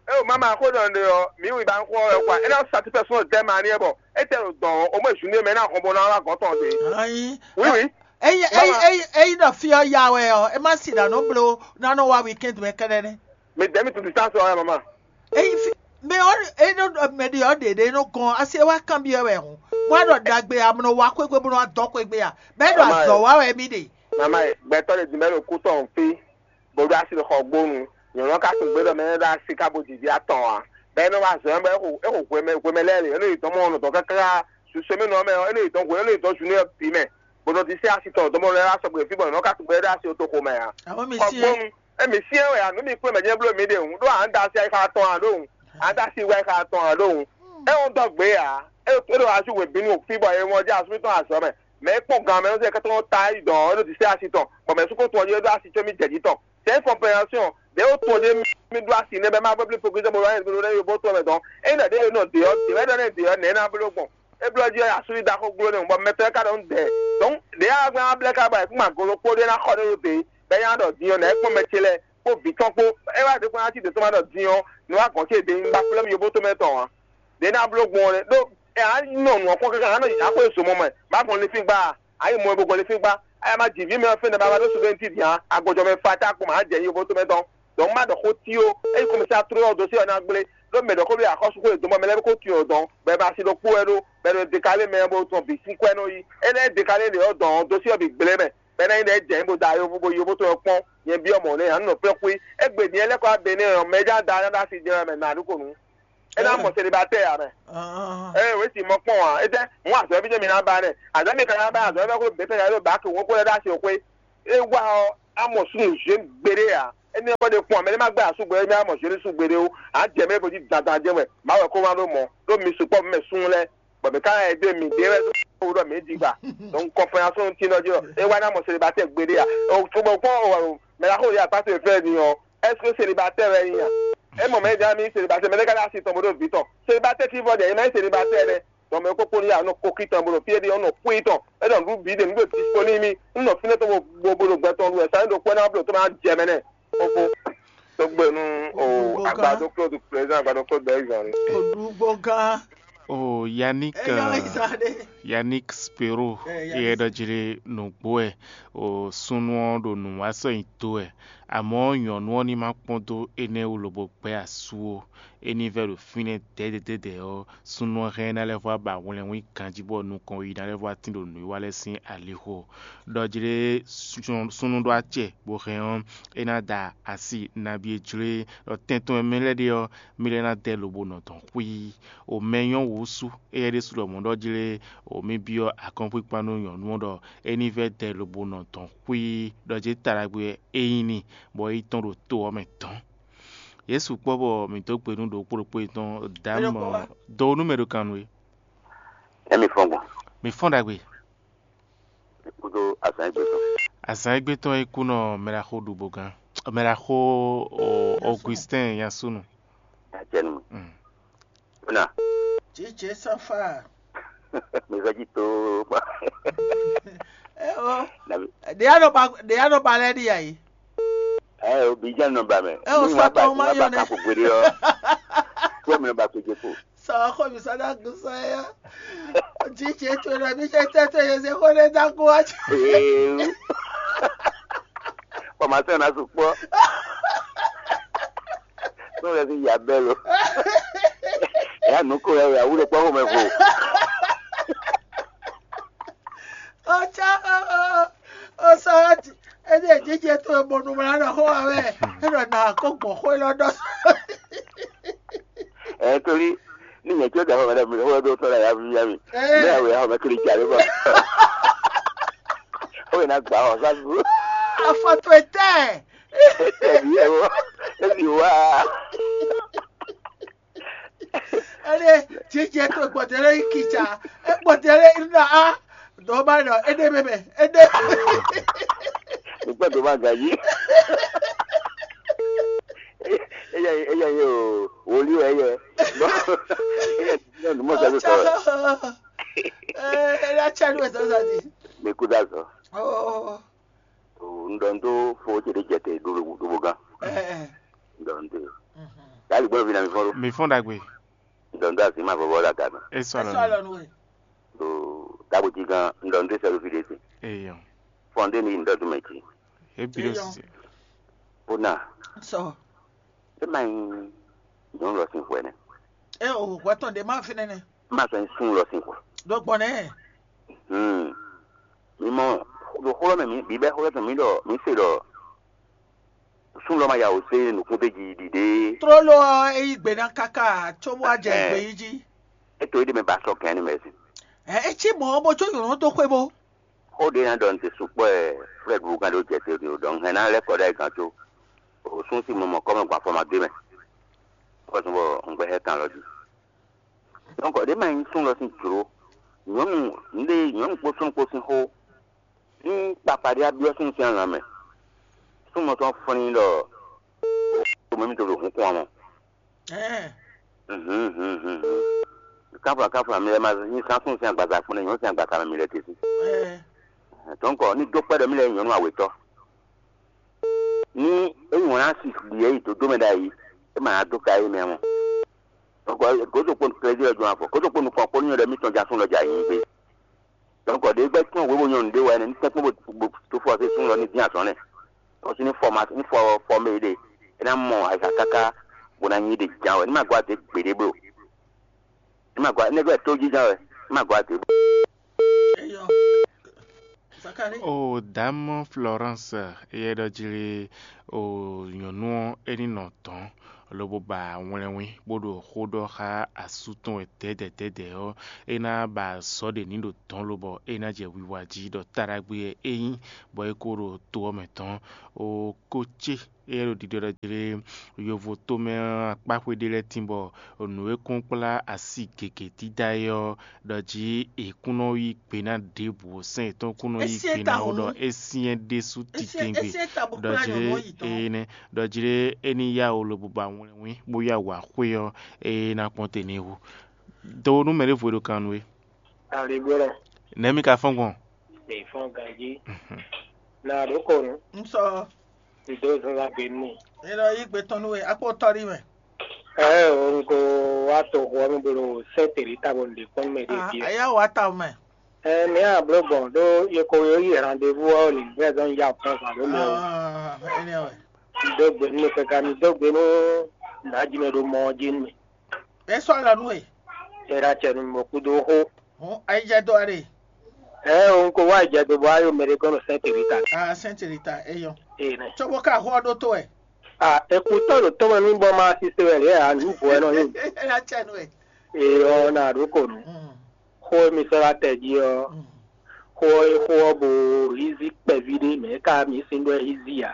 é o mama xó ɖɔ ɖe ɔ́, mǐ wi ba xó ɔ́ wɛ kwa. É ná satisfaction de mɛ aniɛ bɔ é tɛ ɖo dɔn ɔ́, o mɔ zunde mɛ ná xɔn bó ná wá gɔn tɔn de. Ayi. Oui, oui. Eyi eyi eyi eyi ɖɔ fí ɔ́ ya wɛ ɔ́, é má si ɖa nɔ blo ná nɔ wá weekend mɛ kɛɖɛ nɛ. Mais dès mi tu distance ɔ́ mama. Eyi fi mɛ ɔ eyi nɔ mɛ ɖi ɔ ɖeɖe nɔ gɔn asi é wá kan bi ɔ́ wɛ hɔn. Wá ɖɔ ɖagbe amúnɔ wá xwégbé bó nɔ wá dɔ xwégbé a. Bɛ ɖɔ Mama, azɔ wá wɛ mí ɖe. Mama, gbɛtɔ ɖe dìmɛ ɖo kú tɔn fi. Bó ɖo asi ɖo xɔ gbónu. Nyɔnu ká tún gbé ɖɔ mɛ ɖo asi ká bó didi atɔn a. Bɛ nɔ wá zɔn bɛ xo exo hwemɛ hwemɛ lɛ le. Eno yi dɔn mɔ nɔ dɔn kaka. Susue mi nɔ mɛ eno yi dɔn hwe eno yi dɔn zunu yɛ bi mɛ. Bó nɔ di se asi tɔn dɔn mɔ lɛ wá sɔgbe fi bɔ nɔ ká tún gbé ɖo asi to xomɛ a. Àwọn mi Xɔ sí gbónu. Emi si ɛ wɛ a nu mi kplɔ́n mɛ jɛ bló mi ɖe ŋu ɖó à ń da asi ayi xa tɔn a ɖó ŋu. À ń da asi wɛ xa tɔn a ɖó ŋu. É ŋu dɔ gbé a. É é ɖo asu wě bínú fi bɔ é ŋɔ jɛ asúmí tɔn azɔ mɛ. Mɛ é kpɔn gan mɛ ɔ́ sɛ kɛtɔ ta yi dɔn é ɖo di se asi tɔn. Bɔ mɛ sukú tɔn jɛ ɖo asi tso mi jɛ jí tɔn. C'est une compréhension. Ɖé wó tɔn jɛ mi ɖo asi nɛ bɛ ma bɛ bli pokitɛ bɔ wáyé bɛ yóbó tɔn mɛ dɔn. É nɔ ɖé nɔ dé ɔ dé wɛ ɖɔ nɛ dé ɔ nɛ ná bló gbɔn. É blɔ jí ɔ asú yi da xó gbló nɛ bɔ mɛ tɔn ka ɖɔ ń dɛ. Donc ɖé a gbɛ ablɛ ka ba kuma golo kpó ɖé ná xɔ ɖé yó dé. Bɛ nya ɖɔ din ɔ nɛ kpɔn mɛ ce lɛ kpó vǐ tɔn kpó. É wá ɖě kpɔn ná ci dě tɔn ma ɖɔ din ɔ nɔ wá gɔn ce dé ń gba flɛ́m yóbó tɔn mɛ tɔn ǎ. Ɖě ná bló gbɔn ɔ́ ɖó ɛ á nɔ nǔ ɔ́ kpɔ́n káká á nɔ yǐ xwé zomɔ mɛ bá gbɔn linfín gbá ǎ. Á yi mɔ ebo gbɔn linfín gbá á má jǐ ví mɛ ɔ́ fɛ́n nɛ bá wá ɖó sudó ní tídǐ ǎ. Agbɔjɔ mɛ fata kpɔn má jɛ yi yóbó tɔn mɛ tɔn. Donc má ɖɔ xó tí ó, ényí kɔmɛsí atró ɔ́ dó sí ɔ́ ná gblé ɖó mɛ ɖɔ xó ɖo axɔ́súxó e dɔn bɔ mɛ lɛ́ɛ kó tun ɔ́ dɔn bɔ ɛ ma si ɖokpó wɛ ɖó bɔ ɛ ɖo dekalé mɛ bó tɔn bǐ sín kwɛ́ nɔ yi. É lɛ́ dekalé lě ɔ́ dɔn ɔ́ dó sí ɔ́ bǐ gblé mɛ bɔ é ná nyí ɖɔ é jɛ nyí bó da yóbó bó yóbó tɔn ɔ́ kpɔ́n. Nyɛ byɔ́ mɔ̌ nɛ́ ǎ nɔ fɛ́n xwé. Égbé din ɛ lɛ́ kɔ wá Benɛ́ɛ ɔ́, mɛ é já da ná ɖó asi jɛ wɛ mɛ nǎ ɖó ko nǔ. É ná mɔ selibatɛ́ɛ ǎ mɛ. Ee wěsi mɔ kpɔn ǎ. Étɛ́ mú azɔ̌ bí jɛ́n mi ná ba nɛ́. Azɔ̌ mi ka ná ba azɔ̌ bɛ́ kó bětɛ ya ɖo bǎ kò wọ́n kó lɛ́ ɖó asi xwé. É wá ɔ́, á mɔ súnnu zhě gbeɖé ǎ. Énɛ́ ɔ́ kɔ ɖe kpɔn mɛ ní má gbɛ́ asúgbó émí á mɔ zhě ní súgbó ɖé ó. Á jɛ mɛ é bó jí dandan jɛ́n wɛ. Má wɛ kó má ɖó mɔ. Ɖó mi sukpɔ́ mɛ súnnu lɛ́ɛ. Bɔ mɛ ká ɛ dó mi ɖé wɛ ɖó ɖɔ mɛ di gba. Donc kɔnpɛnasɔn ti nɔ jí ɔ. É wá ná mɔ selibatɛ́ɛ gbeɖé ǎ. Ɔ tó bɔ kpɔ́n ɔ mɛ la xó yɛ akpá tó fẹ́ ni ɔ. Est-ce que célibataire wɛ nyí a? É mɔ mɛ é dán mì célibataire mɛ ɖé ká dó asi tɔn bó ɖó vǐ tɔn. Célibataire tí vɔ ɖe é má nyí célibataire ɖé. Tɔn mɛ kókó ní ya nɔ koki tɔn bó ɖo fí é ɖe ɔ́ nɔ kú yi tɔn. É ɖɔ nǔɖuɖu bǐ ɖe nǔ ɖo dispo n'i mì. Un nɔ fínɛ́ tɔn bó bó ɖo gbɛ tɔn ɖu wɛ sa é ɖo kpɛ́ ná bló tó má jɛ mɛ nɛ. Fofo. Tó gbé nú o Gbogbo agbadó kan. Claude président agbadó Claude bɛɛ zɔn ni. Òdúgbò gán. Oh, Yannick, Èèyàn euh, ìsàlẹ̀. Yannick Spero, é yɛ ɖɔ jí lé nǔgbó wɛ, o súnnu ɔ́ ɖo nǔ wa sɔ́ nyi dó wɛ, amɔ̌ nyɔ̌nu ɔ́ ní ma kpɔ́n dó énɛ́ wú lobo gbɛ́ asú ó. É ní vɛ́ ɖo fínɛ́ dɛ̌dɛ̌dɛ̌dɛ̌ ɔ́, súnnu ɔ́ hɛn ná lɛ́ vɔ wá ba hwlɛnwín ganjí bɔ nukɔn yi ná lɛ́ vɔ wá tín ɖo nǔwiwa lɛ́ɛ sín alixo. Ɖɔ jí lé súnnu ɖó acɛ bó hɛn ɔ́, é ná da asi nabí e jló e ɖɔ tɛn tɔn e mɛ lɛ́ɛ ɖe ɔ́, mì lɛ́ ná dɛ lobo nɔ dɔn xwíí. O mɛ nyɔ́ wǔ sú, éyɛ́ ɖésú ɖɔ mɔ̌ ɖɔ jí lé o mì byɔ́ akɔ́nkpíkpá nú nyɔ̌nu ɔ́ ɖɔ é ní vɛ́ dɛ lobo nɔ dɔn xwíí, ɖɔ jí taɖagbe wɛ é nyí n'i, bɔ é yi tɔ́n ɖo to ɔ́ mɛ dɔ̌n. Yě sukpɔ́ bɔ mǐ dó gbe nú ɖokpó ɖokpó yětɔn dǎmɔ dó nú mɛ ɖo kan nú we. Emi fɔn gbɔn. Mǐ fɔ́n ɖagbe. Kúdó azǎn égbé tɔn. Azǎn égbé tɔn e kú nɔ mɛɖaxó ɖubo gán, mɛɖaxó Augustin Yasunu. Acɛnu. Mm. Ona. Jijɛ sanfa. Mezɔji to. Eo. Ɖe ya nɔ ba ɖe ya nɔ ba lɛ ɖi ayi. Ɛ o bi jɛ nɔ ba mɛ. Ɛ o sɔ tɔn ma yɔ nɛ. Ko gbede ɔ. Ko mi nɔ ba ko je ko. Sɔ xɔ mi sɔ da gun sɔ ya. Jijɛ to na mi jɛ tɛ to ye se ko ne da ko wa. Ee. Kɔmasɛn na sukpɔ. N'o lɛ si ya bɛ lo. Eya nu ko ya ya wúlò kpɔ xɔmɛ vo. Ɔtsá ɔsɔyɔti, ɛdi ejijɛ to ebɔnu mla nɔ xɔ wa wɛ, enɔ na ko gbɔn xɔ lɔ dɔ. Ɛ torí ní nyɛ tí ó dẹ̀ xɔ mɛ dɛ mi xɔ dó tɔn la ya mi ya mi. Ní àwọn ya xɔ mɛ kiri jà lé bɔ. Ó yẹ na gbà ɔ sá dúró. Afɔtu etɛ. Ẹbí ẹ wọ ẹbí wá. Ele jijɛ to gbɔdɛlɛ yi kitsa, gbɔdɛlɛ yi na a dɔba nɔ ede mɛmɛ ede. Nígbà tó máa gà yí. Eya eya yẹ o wòlíì ẹ yẹ. Eya ti ní ọdún mọ̀ sẹ́dọ̀ sọ̀rọ̀. Ele atsɛ nu ẹsẹ sadi. Mi kú dá sọ. Oh. Ŋdɔndó fo ce ɖe jɛ te ɖo ɖo gán. Ŋdɔndó. Yali gbɔdɔ fi na mi fɔn ɖo. Mi fɔn ɖagbe. Ŋdɔndó asi ma vɔvɔ la gana. E sɔ Eso alɔ. Alɔ nu we. Ɖo dagbo ji gán ŋdɔndó sɛ ɖo fi ɖe se. Eyɔ. Fɔn ɖe mi ŋdɔndó mɛ ji. E bi ɖo Eyɔ. Sise. Bona. Sɔ. E ma nyi nyɔnu lɔ sin hwɛ nɛ. E o hwɛ tɔn ɖe ma fi nɛnɛ. Ma sɔ nyi sun lɔ sin hwɛ. Ɖo gbɔn nɛ. Hmm. Mi mɔ ɖo xlɔ mɛ mi bibɛ xlɔ tɔn mi ɖɔ mi se ɖɔ sun lɔ ma ya o se nukun de ji ɖiɖe. Trolo ɔ e yi gbe na kaka tso bó a jɛ gbe yi ji. Eto yi ɖe mɛ ba sɔ kɛn ni mɛ si. Ɛ etsi mɔ bo tso nyɔnɔ to xwe bo. Xó ɖé ná ɖɔ n te sukpɔ́ ɛ Flɛ́d wú gán ɖó jɛ te ɖo ɖɔ un hɛn ná lɛ́ kɔ ɖó ayǐ gán có. O sún sí mɔ mɔ kɔ́ mɛ gbafɔ ma dó mɛ. Kɔ́ sún bɔ un gbɛ xɛ kan lɔ jí. Donc ɖé ma nyí sún lɔ sín jlǒ. Nyɔ̌nu nǔɖé nyɔ̌nu kpó súnnu kpó sín xó. Ní kpakpa ɖé abyɔ́ súnnu sín alǎ mɛ. Súnnu tɔn flín ɖɔ mɛ mi to ɖo hǔn kɔn mɔ. Ɛɛ. Káfla káfla mi lɛ ma nyí sánsún sín agbaza kpɔ́n nɛ nyɔ̌nu sín agbaza mɛ mi lɛ te sí. Ɛɛ. Donc ní dó kpɛ́ ɖɔ mí lɛ nyí nyɔ̌nu awětɔ́. Ní é nyí wǎn ná si ɖi é yi dodó mɛ ɖ'ayǐ, é ma ná dó ka é mɛ mɔ. Donc gǒdo kpó klézí lɔ jɔn afɔ, gǒdo kpó nukɔn kpó nyɔ́ ɖɔ mítɔn ja sún lɔ jà yí gbé. Donc ɖě gbɛ́ kpɔ́n wěwo nyɔ́nu ɖé wɛ ní tɛ́nkpɔ́n bó tó fɔ sí sún lɔ ní dín azɔn nɛ. Tɔn sí ní fɔ ma ní fɔ fɔ mɛ ɖe, é ná mɔ ayǐha káká bó ná nyí ɖe ján wɛ, ní ma gɔ́ adě gbeɖé bló. Ní ma gɔ́ nɛgbɛ tó jínján wɛ, ní ma gɔ́ adě bló. Eyɔ. Zakari. O dǎmɔ Florence, éyɛ́ ɖɔ jí lé o nyɔ̌nu ɔ́ é ní nɔ dɔ̌n, lobo ba wlɛnwín bó ɖo xó ɖɔ xá asú tɔn wɛ dɛ̌dɛ̌dɛ̌dɛ̌ ɔ́, é ná ba azɔ̌ ɖě ní ɖo dɔ̌n lobɔ é ná jɛ wiwa jí ɖɔ taɖagbe wɛ é nyí, bɔ é ko ɖo to ɔ́ mɛ dɔ̌n. O ko cé éyɛ́ ɖo ɖiɖɔ ɖɔ jí lé yovo tomɛ ɔ́ akpáxwé ɖé lɛ́ɛ tín bɔ nǔ e kún kplá asi gěgé dídá é ɔ́ ɖɔ jí è kún nɔ yí gbe ná ɖěbǔ, sɛ́n yětɔn kún nɔ yí gbe ná wú ɖɔ é syɛ́n ɖésú titewungbe. Ɖɔ jí lé énɛ́ ɖɔ jí lé é ní yá wǔ lobo ba wlɛnwín bó yá wǎ xwé ɔ́, é ná kpɔ́n te n'i hú. Do nú mɛ ɖěvo e ɖo kan nú we. Aligbɔlɔ. Nɛ̌ mi ka fɔ́n gbɔn? Mi fɔ́n ganjí. Na ɖo kɔnu. N sɔ. N dó zɔnzɔn gbe nú. E nɔ yí gbe tɔn nú we, akpó tɔ́ ɖi mɛ. Ɛɛ o, n ko wá to xo ɔ́ mɛ bó ɖo sɛ́ tèlí ta bɔ n ɖe kpɔ́n mɛ ɖé Ah, fí ɛ. Aya wa ta mɛ. Ɛ, mǐ a bló gbɔn ɖó yeko yo yi rendez-vous ɔ́ lǐndɛ́ zɔn ya kpɔ́n zǎn ɖó mɛ o. Ah, énɛ́ wɛ. Dó gbe nú mɛ káká, mi dó gbe nú nǎjínɔ ɖo mɔ ɔ́ jí nú mì. É sɔ́ alɔ nú we. É ná cɛ nú mì bɔ kúdó xó. Hɔn, ayijɛ dó a ɖe. Ɛ o, un ko wá ìjɛ dó bɔ ayɔ mɛ ɖé kɔn ɖo Sainte Rita. Ah, Sainte Rita, é yɔ. Ee nɛ. Cóbó ká xó ɔ́ ɖótó wɛ. Ah, ekutɔ ɖo tɔmɛ nú bɔ ma sise wɛ lě a nǔ bɔ ɛ nɔ nyi. É ná cɛ nú we. Ee ɔ na ɖó ko nú. Mm. Xó e mi sɔ́ ɖó atɛ jí ɔ́, Mm. xó ɔ́ e xó ɔ́ bo hízí kpɛví ɖé mɛ ká mi sín ɖó ɛ hízí ǎ.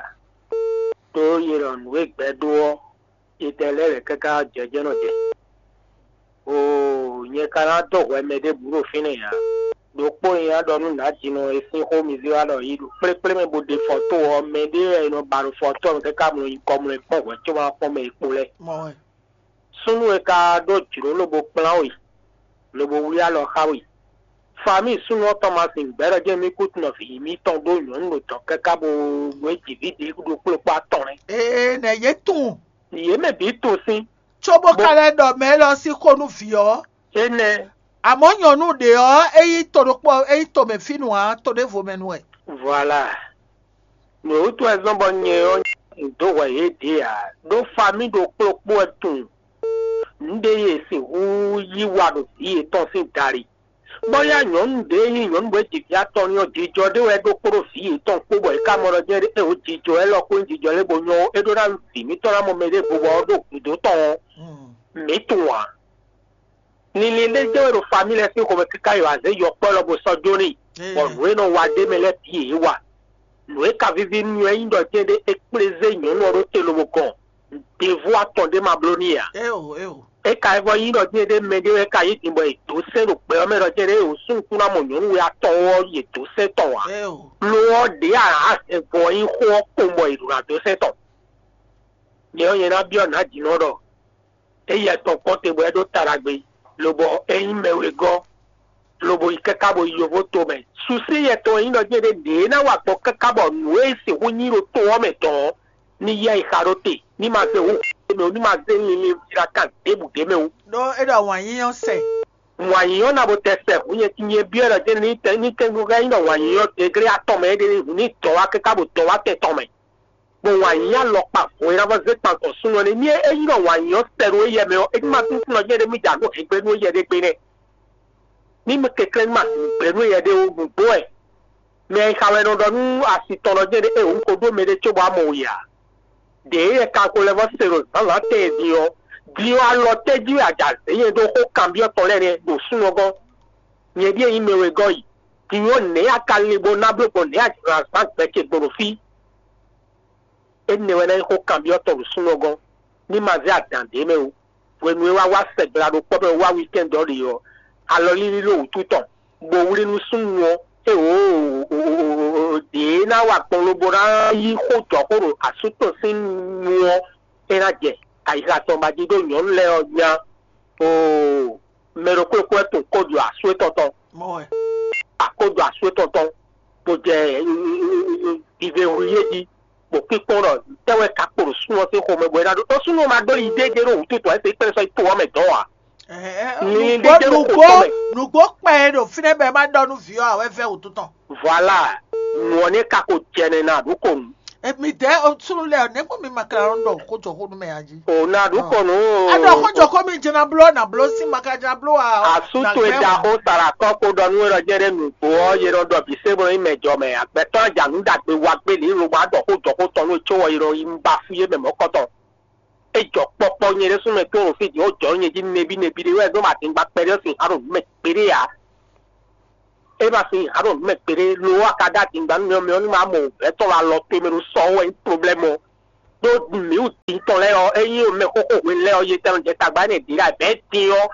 Ɖó yě ɖɔ nǔ e gbɛ́ dó ɔ́, etɛ lɛ́ɛ wɛ káká jɛ jɛ́ nɔ jɛ. Oo, nyɛ ka ná dó hwɛ mɛ ɖěbǔ ɖo fínɛ́ ǎ. Ɖokpó nyɛ ná ɖɔ nú nǎjínɔ e sín xó mi zé wá ɖɔ yi ɖo kplékplé mɛ bó ɖe fɔ́to ɔ́, mɛ ɖé wɛ è nɔ ba ɖo fɔ́to ɔ́ mɛ káká mlɔ nyikɔ mlɔ e kpɔ́n hwɛ̌ có ma kpɔ́n mɛ e kpo lɛ́ɛ. Mɔ wɛ. Súnnu e ka ɖó jlǒ lobo kplán we, lobo wlí alɔ xá we. Famíi súnnu ɔ́ tɔn ma sin gbɛ̌ ɖɔ jɛ́n mì kú tunɔ vǐ mitɔn ɖó nyɔ̌nu ɖo dɔ̌n káká bó nú é ji vǐ ɖě ɖokpó ɖokpó atɔn nɛ́. Ee, nɛ yě tunwun. Yě mɛ bǐ tunwun sín. Cóbó Bo- ka lɛ́ ɖɔ mɛ élɔ́ sín xó nú vǐ ɔ́. Énɛ́. Amɔ̌ nyɔ̌nu ɖě ɔ́, é yí to ɖokpó, é yí to mɛ fínú ǎ, to ɖěvo mɛ nu wɛ. Voilà. Nǔ e wútu wɛ zɔ́n bɔ nyɛ ɔ́, un dǒ hwɛ yě ɖě ǎ, ɖó famí ɖokpó ɖokpó wɛ tunwun nǔ ɖé e è sixú yí wa ɖo vǐ yětɔn sín dali. Bɔ yá nyɔ̌nu ɖě e nyí nyɔ̌nu bɔ é ji vǐ atɔn n'i ɔ́, jijɔ ɖé wɛ é ɖó kpódó vǐ yětɔn kpó, bɔ é ka mɔ ɖɔ jɛ́n é wǒ jijɔ élɔ́ kpó nyí jijɔ lɛ́ɛ bó nyɔ́ ó, é ɖó ná vǐ mǐtɔn ná mɔ mɛɖěvo bɔ ɔ́ ɖo gǔdo tɔn ɔ́, mǐ tunwun ǎ. Linlin ɖé jɛ́n wɛ ɖo famí lɛ́ɛ sín xomɛ káká yi wǎ zé yɔkpɔ́ lɔ bó sɔ́ jó n'i, bɔ nǔ e nɔ wa ɖ'é mɛ lɛ́ɛ bǐ yě wa. Nǔ e ka víví nú mì ɔ́ nyí ɖɔ jɛ́n ɖé é kplé zé nyɔ̌nu ɔ́ ɖó te lobo gɔn, devo atɔn ɖé ma bló n'i ǎ. Éo, éo. É ka vɔ nyí ɖɔ jɛ́n ɖé mɛ ɖé wɛ ka yí din bɔ è dǒ sɛ́n ɖo gbɛ ɔ́ mɛ ɖɔ jɛ́n ɖé è wǒ súnnu kún ná mɔ nyɔ̌nu we atɔn ɔ́ yě dǒ sɛ́n tɔn ǎ. Éo. Lo ɔ́ ɖě a nǎ hɛn vɔ nyí xó ɔ́ kpowun bɔ è ɖǒ ná dó sɛ́n tɔn. Nyɛ ɔ́, nyɛ ná byɔ́ nǎ jǐnɔ ɖɔ é yɛ tɔn kpɔ́n te bɔ é ɖó ta ɖagbe, lobɔ é nyí mɛ wegɔ́, lobo yi káká bo yi yovo tomɛ. Susi yɛtɔn e nyí ɖɔ jɛ́n ɖé ɖě ná wa gbɔn káká bɔ nǔ e sixú nyí ɖo to ɔ́ mɛ tɔn ɔ́, ní yá yi xa ɖó te, ní ma zé hǔn ɖé mɛ wú, ní ma zé linlin víɖá kan ɖěbǔ ɖé mɛ wú. Ɖó é ɖɔ wǎn yíyɔ́ sɛ. Wǎn yíyɔ́ ná bo tɛ sɛ hǔn nyɛ, nyɛ byɔ́ ɖɔ jɛ́n ní tɛ ní tɛnnu ká nyí ɖɔ wǎn yíyɔ́ degré atɔn mɛ é ɖe ní hǔn ní dɔn wá káká bo dɔn wá tɛn tɔn mɛ. Bɔ wǎn yí alɔkpa vo e ná vɔ zé kpan tɔn súnnu ɔ́ nɛ́. Ní é nyí ɖɔ wǎn yí ɔ́ sɛ ɖo éyɛ́ mɛ ɔ́, é ní ma túntún nɔ jɛ́n ɖé mì ja nú hɛngbé nú éyɛ́ ɖé gbe nɛ́. Ní mì kɛnklɛ́n ní ma sixú gbe nú éyɛ́ ɖé ó, nǔgbó wɛ. Mɛ e xa wɛ nɔ ɖɔ nú asi tɔn nɔ jɛ́n ɖé é wǔ ko ɖó mɛ ɖé cóbɔ amɔ we ǎ. Ɖě éyɛ́ ka ko lɛ́ vɔ se ɖo zǎnzǎn tɛn e din ɔ́, din ɔ́ alɔ tɛ́ jí wɛ a ja zě nyɛ ɖó xó kanbyɔ́ tɔn lɛ́ɛ nɛ́ ɖo súnnu ɔ́ gɔ́n? Nyɛ ɖíe nyí mɛ wegɔ́ yi. Din ɔ́ nɛ̌ a ka lin bó ná bló gbɔn nɛ̌ a jlǎ zǎn gbɛ ce gbɔn ɖo fí? Énɛ́ wɛ ná nyí xó kanbyɔ́tɔ́ ɖo súnnu ɔ́ gɔ́n, ní ma zé adǎn ɖě mɛ ó. Hwenu e wá wá sɛgbla ɖo kpɔ́ mɛ wá wikɛ́nd ɔ́ ɖe ɔ́, alɔlílí ɖo wǔtu tɔn, bó wlí nú súnnu ɔ́, é wǒ ɖě ná wa gbɔn lobo ná yí xó jɔxó ɖo asú tɔn sín nu ɔ́, é ná jɛ ayixa tɔn ba jí ɖó nyɔ̌nu lɛ́ɛ ɔ́ nya. Oo, mɛ ɖokpó ɖokpó wɛ tunwun kódó asú étɔn tɔn. Mɔ wɛ. Akódó asú étɔn tɔn, bó jɛ vive hu yé jí, bó kpíkpɔ́n ɖɔ tɛ́ wɛ ka kpo ɖo súnnu ɔ́ sín xomɛ bɔ é ná ɖó. Ɖó súnnu ɔ́ ma ɖó yi déédéé ɖo wǔtu tɔn, é se kpɛ́ sɔ́ yi to ɔ́ mɛ dɔn ǎ. Ɛhɛn, Ní nǔgbó ɖé ɖo nǔgbó xotɔ́ mɛ. Nǔgbó kpɛ e ɖo fínɛ́ bɔ é ma ɖɔ nú vǐ ɔ́ ǎ wɛ vɛ́ wǔtu tɔn. Voilà, nǔ ɔ́ nɛ́ ka ko jɛ nɛ́ ná ɖó ko nu. E mi dɛ o sunu lɛ o ne ko mi ma kla lɔ dɔ ko jɔ ko nu mɛ ya ji. O na ɖu kɔnu. A dɔ ko jɔ ko mi jɛna blo na blo si ma ka jɛna blo a. Asu to e da xó sara kɔ ko ɖɔ nú we ɖɔ jɛ ɖe nǔgbó ɔ́ ye ɖɔ ɖɔ bǐ se bɔ nyí mɛ jɔ mɛ agbɛtɔ́ ajanu ɖagbe wa gbé lǐ lo ma ɖɔ xó jɔ xó tɔn nú tso wɔ yi ɖɔ yi ba fú yé mɛ mɔ̌kɔtɔn. E jɔ kpɔkpɔ nyɛ ɖésú mɛ tó ɖo fí din, ó jɔ nyɛ jí nɛbí nɛbí ɖé wɛ ɖó ma dín gba kpɛɖé sin hǎn ɖo nǔ mɛ kpéɖé ǎ. É ma sin hǎn ɖo nǔ mɛ kpéɖé lo wá ka ɖó adingba nú mɛ ɔ́, mɛ ɔ́ ní ma mɔ wǔvɛ́ tɔn wá lɔ towe mɛ ɖo sɔ ɔ́ wɛ nyí problɛ́mu ɔ́. Ɖó mǐ wú din tɔn lɛ́ɛ ɔ́, é nyí mɛ xóxó hwenu lɛ́ɛ ɔ́, yetɛn jɛ tagba énɛ́ ɖě ɖo abɛ̌ din ɔ́,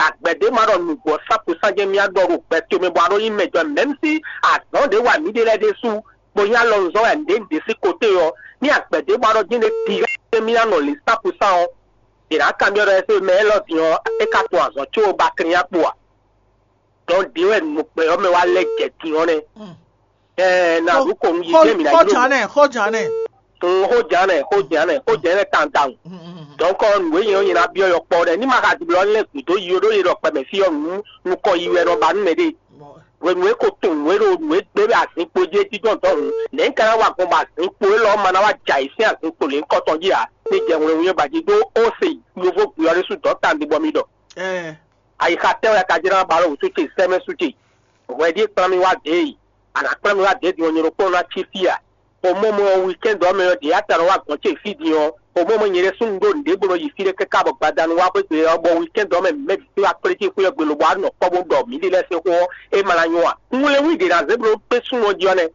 agbɛ̌ ɖé ma ɖɔ nǔgbó ɔ́ sá kúsán jɛ́n mì wá ɖɔ ɖo gbɛ towe mɛ bɔ a ɖó nyí mɛ jɔ mɛ̌m sí azɔ̌ ɖě wa mǐ ɖe lɛ́ɛ ɖésú, bó nyí alɔnuzɔ́ wɛ nǔɖé nǔɖé sín koté ɔ́, ní agbɛ̌ ɖé ma ɖɔ jɛ́n ɖé din jɛ́n mì ná nɔ lǐ sá kúsán ɔ́, è nǎ kanbyɔ́ ɖɔ ɛsé mɛ élɔ́ din ɔ́, é ka tunwun azɔ̌ có ba klín akpo a? Dɔn ɖě wɛ nǔgbɛ ɔ́ mɛ wá lɛ́ jɛ din ɔ́ nɛ́. Ɛɛ, na ɖu kɔnu yi jɛ mi na yi. Xɔjan nɛ, xɔjan nɛ. Xɔjan nɛ, xɔjan nɛ, xɔjan nɛ tantan. Dɔn kɔ nǔ e nyɛ ɔ́ nyɛ na byɔ́ yɔ kpɔ ɖɛ ní ma xa diblɔ lɛ gǔdo yi ɖó yɛ ɖɔ kpɛmɛ fí ɔ́ nǔ nukɔ yi wɛ nɔ ba nú mɛ ɖe. Hwenu e ko tunwun nǔ e ɖo nǔ e gbé wɛ azinkpo jí é jínjɔ́n dɔ̌n hǔn, nɛ̌ un ka ná wa gbɔn bɔ azinkpo élɔ́ ma ná wá jɛ ayǐ sín azinkpo lěhunkɔtɔn jí ǎ? Ní jɛ wlɛnwú e ba jí ɖó Ose, yovó gbě ɔ́ ɖésú dɔ̌n tawun bɔ mi ɖɔ. Ayixa tɛ́ wɛ a ka jló ná ba ɖo wǔtu ce sɛ́mɛ sú ce? Hwɛ ɖíe kplán mì wá dě e, a nǎ kplán mì wá dě din ɔ́, nyɛ ɖokpónɔ ná cí fí a? Xomɔmɔ ɔ́, weekend ɔ́ mɛ ɔ́, ɖě a ta nɔ wá gɔ̌n ce fí din ɔ́, xomɔmɔ nyɛ ɖésú un ɖó nǔɖé bó nɔ yi fí ɖé káká bɔ gbadanu wá xwé gbe ɔ́, bɔ weekend ɔ́ mɛ mɛ bǐ wá kplé ce xwé ɔ́ gbe lobo wá nɔ kpɔ́ bó ɖɔ mǐ ɖe lɛ́ɛ sín xó ɔ́, é ma ná nyɔ́ a? Un wlɛ́n wí ɖě ná zé bló kpé súnnu ɔ́ jí ɔ́ nɛ́.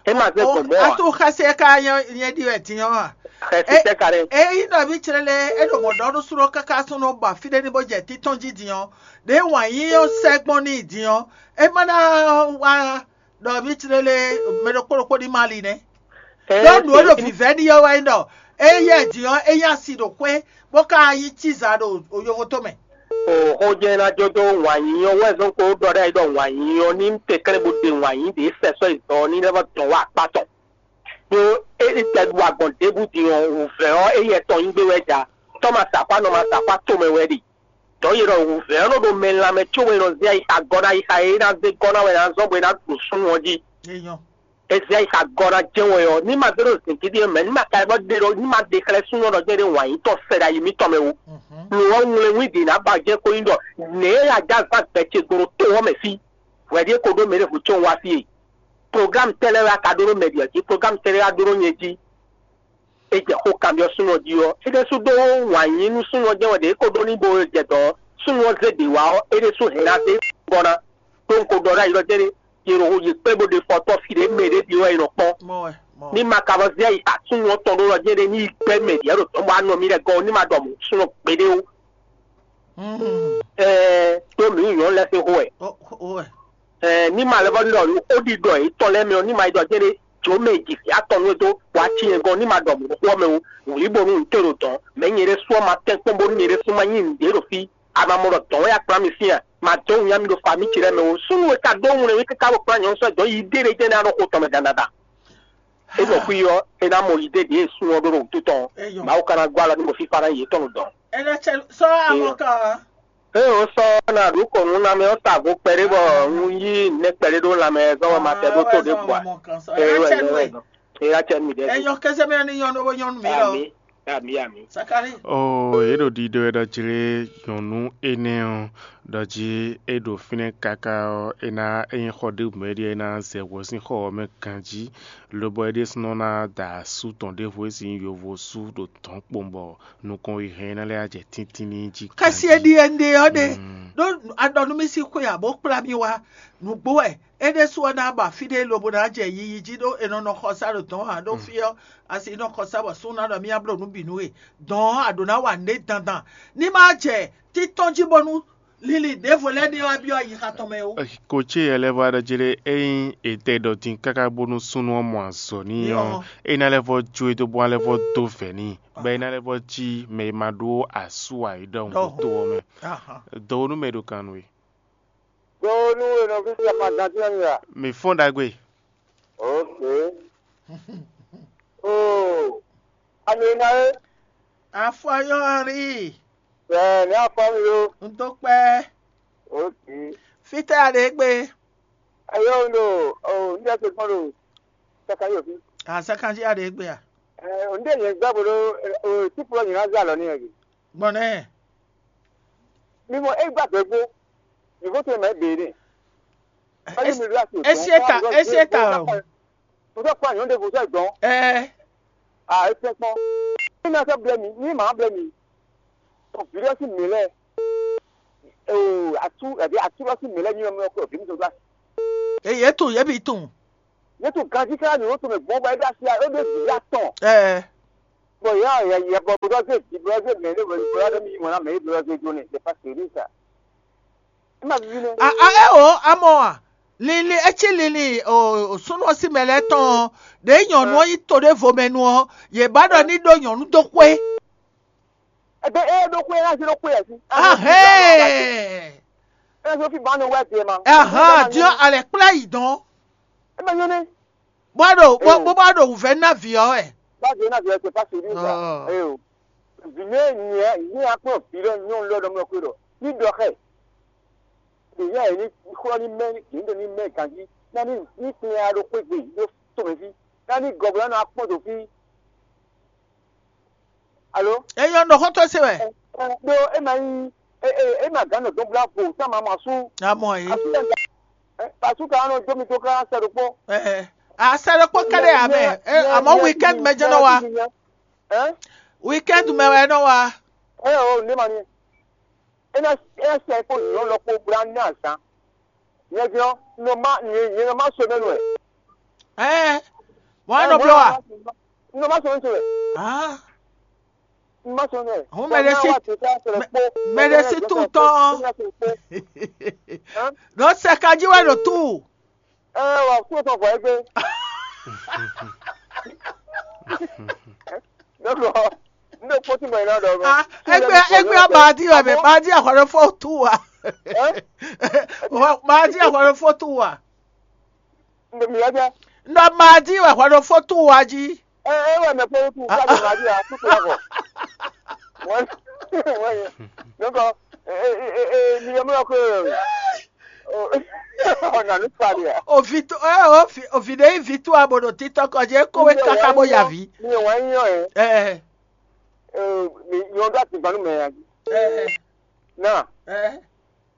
É ma zé gbɔn mɔ̌ a? Atu xɛsi e ka nyɛ nyɛ ɖi wɛ din ɔ́ a? Xɛsi tɛ́ ka ɖe. Eyi nɔ vi tsrele e ɖo mɔ̌ ɖɔ nú súnɔ káká súnɔ ba fí ɖé ní bó jɛ títɔn jí din ɔ́, ɖě wǎn yí ɔ́ sɛ́ gbɔn n'i din ɔ́, é ma ná wá ɖɔ vi tsrele mɛ ɖokpó ɖokpó ní ma li nɛ́. Ɖó nǔ e ɖo vǐvɛ́ n'i ɔ́ wɛ nyí ɖɔ éyɛ́ din ɔ́, é nyí asi ɖo xwé, bó ka nyí cíza ɖo yovo tɔn mɛ. O xó jɛ́n ná jó dó wǎn yíyí ɔ́ wɛ zɔ́n kó ɖɔ ɖ'ayǐ ɖɔ wǎn yíyí ɔ́ ní tɛnklɛ́n bó ɖe wǎn yíyí ɖě sɛ sɔ́ yi dɔ̌ ní lɛ́ vɔ́ dɔn wá akpá tɔn. Ɖó é ní tɛ ɖu agbɔ̌n ɖěbǔ din ɔ́, wǔvɛ́ ɔ́, éyɛ́ tɔn nyí gbé wɛ ja. Tɔ́ ma sa akpá, nɔ ma sa akpá tomɛ wɛ ɖe. Dɔ̌ yi ɖɔ wǔvɛ́ ɔ́ nɔ ɖo mɛ lanmɛ có wɛ nɔ zé ayixa gɔ́ ná ayixa e é ná zé gɔ́ ná wɛ ná zɔ́n bɔ é ná ɖo súnnu ɔ́ jí. È zé ayixa gɔ́ ná jɛ́n wɛ ɔ́, ní ma zé ɖo zǐngídi e mɛ, ní ma ka yi bɔ ɖe ɖɔ, ní ma ɖe xlɛ́ súnnu ɔ́ ɖɔ jɛ́n ɖé wǎn yí tɔn sɛ ɖo ayi mǐtɔn mɛ ó. Lo ɔ́, ŋwlɛ́nwín ɖě ná ba jɛ́n xó nyí ɖɔ nɛ̌ e a jɛ azán gbɛ ce gbo ɖo to ɔ́ mɛ fí? Hwɛ ɖíe ko ɖó mɛ ɖěvo có wá fí e. Programme tɛ́ lɛ́ɛ wɛ a ka ɖó ɖó mɛ ɖě ɔ́ jí? Programme tɛ́ lɛ́ɛ wá ɖó ɖó nyɛ jí? É jɛ xó kanbyɔ́ súnnu ɔ́ jí ɔ́, é ɖésú ɖó wǎn yí nú súnnu ɔ́ jɛ́n wɛ ɖě é ko ɖó ní bo jɛ dɔ̌ ɔ́, súnnu ɔ́ zé ɖě wá ɔ́, é ɖésú hɛn ná zé gɔ́ ná. Ɖó un ko ɖɔ ɖ'ayǐ ɖɔ jɛ́n ɖé, yě ɖo yě kpé bó ɖe fɔ tɔ́ fí ɖě mɛ ɖě ɖi wɛ è nɔ kpɔ́n. Ní ma ka vɔ zé ayi ta súnnu ɔ́ tɔn ɖó ɖɔ jɛ́n ɖé ní yi gbɛ́ mɛ ɖě ɖo dɔ̌n bɔ a nɔ mì lɛ́ gɔ́ ɔ́, ní ma ɖɔ mɔ̌ súnnu gbeɖé ó. Ɛɛ ɖó mǐ nyɔ̌nu lɛ́ɛ sín xó wɛ. Ɛɛ ní ma lɛ́ vɔ ɖɔ ó ɖi ɖɔ yětɔn lɛ́ɛ mɛ ɔ́, ní ma yi ɖɔ jɛ́n ɖé jǒ mɛ e ji vǐ atɔn nú é dó bɔ a ci nyɛ gɔ́n, ní ma ɖɔ mɔ̌ xó ɔ́ mɛ ó. Wlǐ bónú un te ɖo dɔ̌n, mɛ nyɛ ɖésú ɔ́ ma tɛ́nkpɔ́n bónú nyɛ ɖésú ma nyí nǔɖé ɖo fí. A ma mɔ ɖɔ dɔ̌n wɛ a kplá mì sín a? Ma dó wunnyá mì ɖo fa mì ce lɛ́ɛ mɛ ó. Súnnu e ka ɖó wlɛ́nwí káká bó kplá nyɔ̌nu sɔ́ dɔ̌n yi ɖé ɖé jɛ́n ná ɖo xo tɔn mɛ dandan. É nɔ xwí ɔ́, é ná mɔ yi ɖé ɖě e súnnu ɔ́ ɖó ɖo wútu tɔn. Mawu ka ná gɔ́ alɔ ní mɔ fífá ná yětɔn ɖo dɔ̌n. Ena cɛ sɔ amɔ kan. Ée wǒ sɔ́ ná ɖu kɔn nú ná mɛ ɔ́ sa vo kpɛɖé bɔ un yí nɛ́ kpɛɖé ɖó lanmɛ zɔn wɛ ma tɛ ɖó tó ɖě bua. Eye wɛ nyɔ́ wɛ zɔn. Eye acɛ mi ɖɛ. Enyɔ kɛsɛ mɛ ni nyɔnu bo nyɔnu mi lɔ. Ami ami ami. Sakari. Oo, yě ɖo ɖiɖɔ wɛ ɖɔ jlé nyɔnu énɛ́ ɔ́, ɖɔ jí é ɖo fínɛ́ káká ɔ́, é ná é nyí xɔ ɖé mɛ ɖíe é ná zɛ hwɛ sín xɔ ɔ́ mɛ ganjí, lobɔ é ɖésúnɔ ná da asú tɔn ɖěvo e sín yovo sú ɖo dɔ̌n kpowun bɔ nukɔn e hɛn ná lɛ́ jɛ tíntín n'i jí. Xɛsi e ɖi e un ɖe ɔ́ ɖe ɖó aɖɔ nú mì sín xwe ǎ bó kplá mì wá nǔgbó wɛ. É ɖésú ɔ́ ná ba fí ɖé lobo ná jɛ yiyi jí ɖó è nɔ nɔ xɔsá ɖo dɔ̌n ǎ ɖó fí ɔ́, asi nɔ xɔsá bɔ sún ná ɖɔ mì ná bló nǔ bǐ nú we. Dɔ̌n ɔ́, a ɖǒ ná wa nǔɖé dandan. Ní má jɛ títɔn jí bónú lili ɖěvo lɛ́ɛ ní wá byɔ́ ayixa tɔn mɛ ó. Ko ce yɛ lɛ́ vɔ aɖɔ jí ɖé, ényí è tɛ ɖɔ din káká bónú súnnu ɔ́ mɔ azɔ̌ n'i ɔ́, é ná lɛ́ vɔ jó e dó bó ná lɛ́ vɔ dó vɛ̌ n'i, bɔ é ná lɛ́ vɔ cí mɛ e ma ɖó asú ǎ é ɖɔhun ɖo to ɔ́ mɛ. Dɔwonu mɛ ɖo kan nú we. Dɔwonu e nɔ fí sia ma gán tínɔ mi a? Mi fɔ́n ɖagbe. Ok. Oo, alo e ná é? Afɔyɔ́rí. Ɛ ní afɔ mi lo. Un dó kpɛ́. Ok. Fítɛ́ a ɖe gbé? Ayɔ un ɖo o, un jẹ́ se kpɔn ɖo Sakanji òfin. A Sakanji a ɖe gbé a? Ɛ, un ɖe nyɛ gbá bo ɖo o, tí fúlɔ nyina zé alɔ ní yɛ. Gbɔn nɛ. Mi mɔ e gba gbɛ gbó. Mi ko to ma be ne. Esi eta, esi eta o. Mo sɔ kpa nyɔnu ɖe mo sɔ dɔn. Ɛɛ. A e fɛn kpɔn. Mi ma sɔ blɛ mi, mi ma blɛ mi. O virus mi lɛ. O atu, ɛdi atu lɔ si mi lɛ mi mɛ ko bi mi to gba. Eye to ye bi tun. Ye to ganji ka ni o to me gbɔn ba e da si a, o de bi ya tɔn. Ɛɛ. Bɔ ya ya ya bɔ bɔ se di bɔ se mɛ ne bɔ bɔ ya mi mɔ na mɛ bɔ se jo ne, c'est pas sérieux ça. Ima bi ne. A a e o amɔ a. Lili etsi lili o sunu ɔsi mɛ lɛ tɔn de nyɔnu ɔyi to de vo mɛ nu ɔ ye ba dɔ ni do nyɔnu do kwe. Ebe e do kwe la si do kwe asi. Ahee. E so fi ba no wɛ de ma. Ahan diɔ alɛ kpla yi dɔn. Ebe nyɔ ne. Bó a ɖo bó bó bá ɖo wǔvɛ́ ná vǐ ɔ́ wɛ. Bá vǐ ɔ́ ná vǐ ɔ́, c'est pas sérieux ça. Ɔɔ. Ee o. Vǐ nyɛ nyɛ nyɛ akpɔ́n vǐ lɔ nyɔnu lɔ ɖɔ mlɔ xwe ɖɔ ní ɖɔ xɛ. Ɖě yá yě ní xlɔ́ ní mɛ, yě ní ɖo ní mɛ ganjí. Ná ní ní kplɔ́n ya ɖo xwé gbe ɖó tomɛ fí. Ná ní gɔ̌gbɛ́ nɔ akpɔ́n dǒ fí. Alo? Eyɔ nɔ xɔ́ntɔn se wɛ. Ɖó é ma nyí é ma gǎn nɔ dɔn blá vo tá ma mɔ asú. Amɔ yìí. Asú lɛ asú ka nɔ jó mi tó ká sɛ ɖokpó. Asɛ ɖokpó kɛɖɛ amɛ. Amɔ weekend mɛ jɛ nɔ wa. Weekend mɛ wɛ nɔ wa. Ɛ o ne ma ni. É ná é ná sɛ kó nyɔ̌ lɔ kó blá ní azǎn. Nyɛ din ɔ́, nɔ má nyɛ nɔ má so mɛ nú ɛ. Ɛɛ, mɔ ɛ nɔ blɔ wa. Nɔ má so mɛ nú ɛ. Ah, Má so mɛ. Hun mɛ ɖe si- mɛ ɖe si tout le temps. Ɖo sɛ ka jí wɛ ɖo tout. Ɛ wà fún ọ̀sán fún ẹgbẹ́. Dɔkɔ, n bɛ kpɔtí mɔ iná dɔ. Ah, egbe egbe ɔba di wɛ mɛ ba di ahɔrɔ fɔ tu wa. Ba di ahɔrɔ fɔ tu wa. N bɛ mi yá jẹ́. Nɔ ba di wɛ ahɔrɔ fɔ tu wa jí. Ɛ ɛ wɛ mɛ kpɔtí tu ká lè má di a kúkú yà kɔ. Wọ́n wọ́n yẹ. Dɔkɔ, ɛ ɛ ɛ ɛ mi yẹ mọ́ kó. Ọ̀nà ní pàdé à. Ovi to ɛ ovi ovi ɖe yi vi to abo ɖo titɔ kɔ jí eko we kaka bo ya vi. Mi ò wá yín yàn ẹ́. Ɛ Mi yàn ọdún àti ìgbàanú mẹ́rin àti. ɛ Náà, ɛ.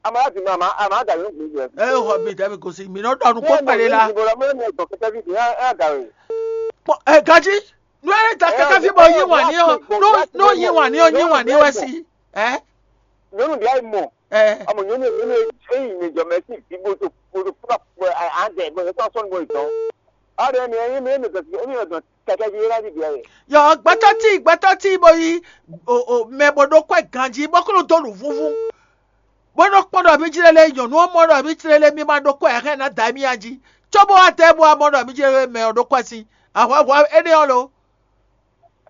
a máa láti máa a máa dàbí ògùn ìgbẹ́. Ɛ xɔ mi dɛbi gosi mi nɔ dɔnu kó pɛlɛ la. Ìbò lọ́mọ ẹ̀ ní ẹ̀gbọ́n kẹtẹ́ bí ìdí ẹ̀ dà rẹ̀. Kpɔ ɛ gaji. Nú ɛ da kaka fi bɔ yi wa ni ɔ. Nú nú yi wa ni ɔ yi wa ni wɛ si. Ɛ Nyɔnu ɖe ayi mɔ. Ɛ Ọmọ nyɔnu nyɔnu eyi mi jɔ mɛ si bi bo to bo to kura kura ande bo to sɔn bo itɔ. Ɔdɛ mi eyi mi mi gɔsi mi mi gɔsi kɛkɛ ji yɛlɛ di bi ayi. Yɔ gbɛtɔ ti gbɛtɔ ti bo yi o o mɛ bo ɖo kɔɛ ganji bɔ kó ló dó nu vúvú. Bó nɔ kpɔ́n ɖɔ mí jlé lé nyɔ̌nu ɔ́ mɔ ɖɔ mí jlé lé mí ma ɖó kɔ́ ɛ hɛn ná da émí jí, cóbó wá tɛ bó wá mɔ ɖɔ mí jlé lé mɛ ɔ́ ɖó kɔ́ ɛ sín ahwanvú énɛ́ ɔ́ lo.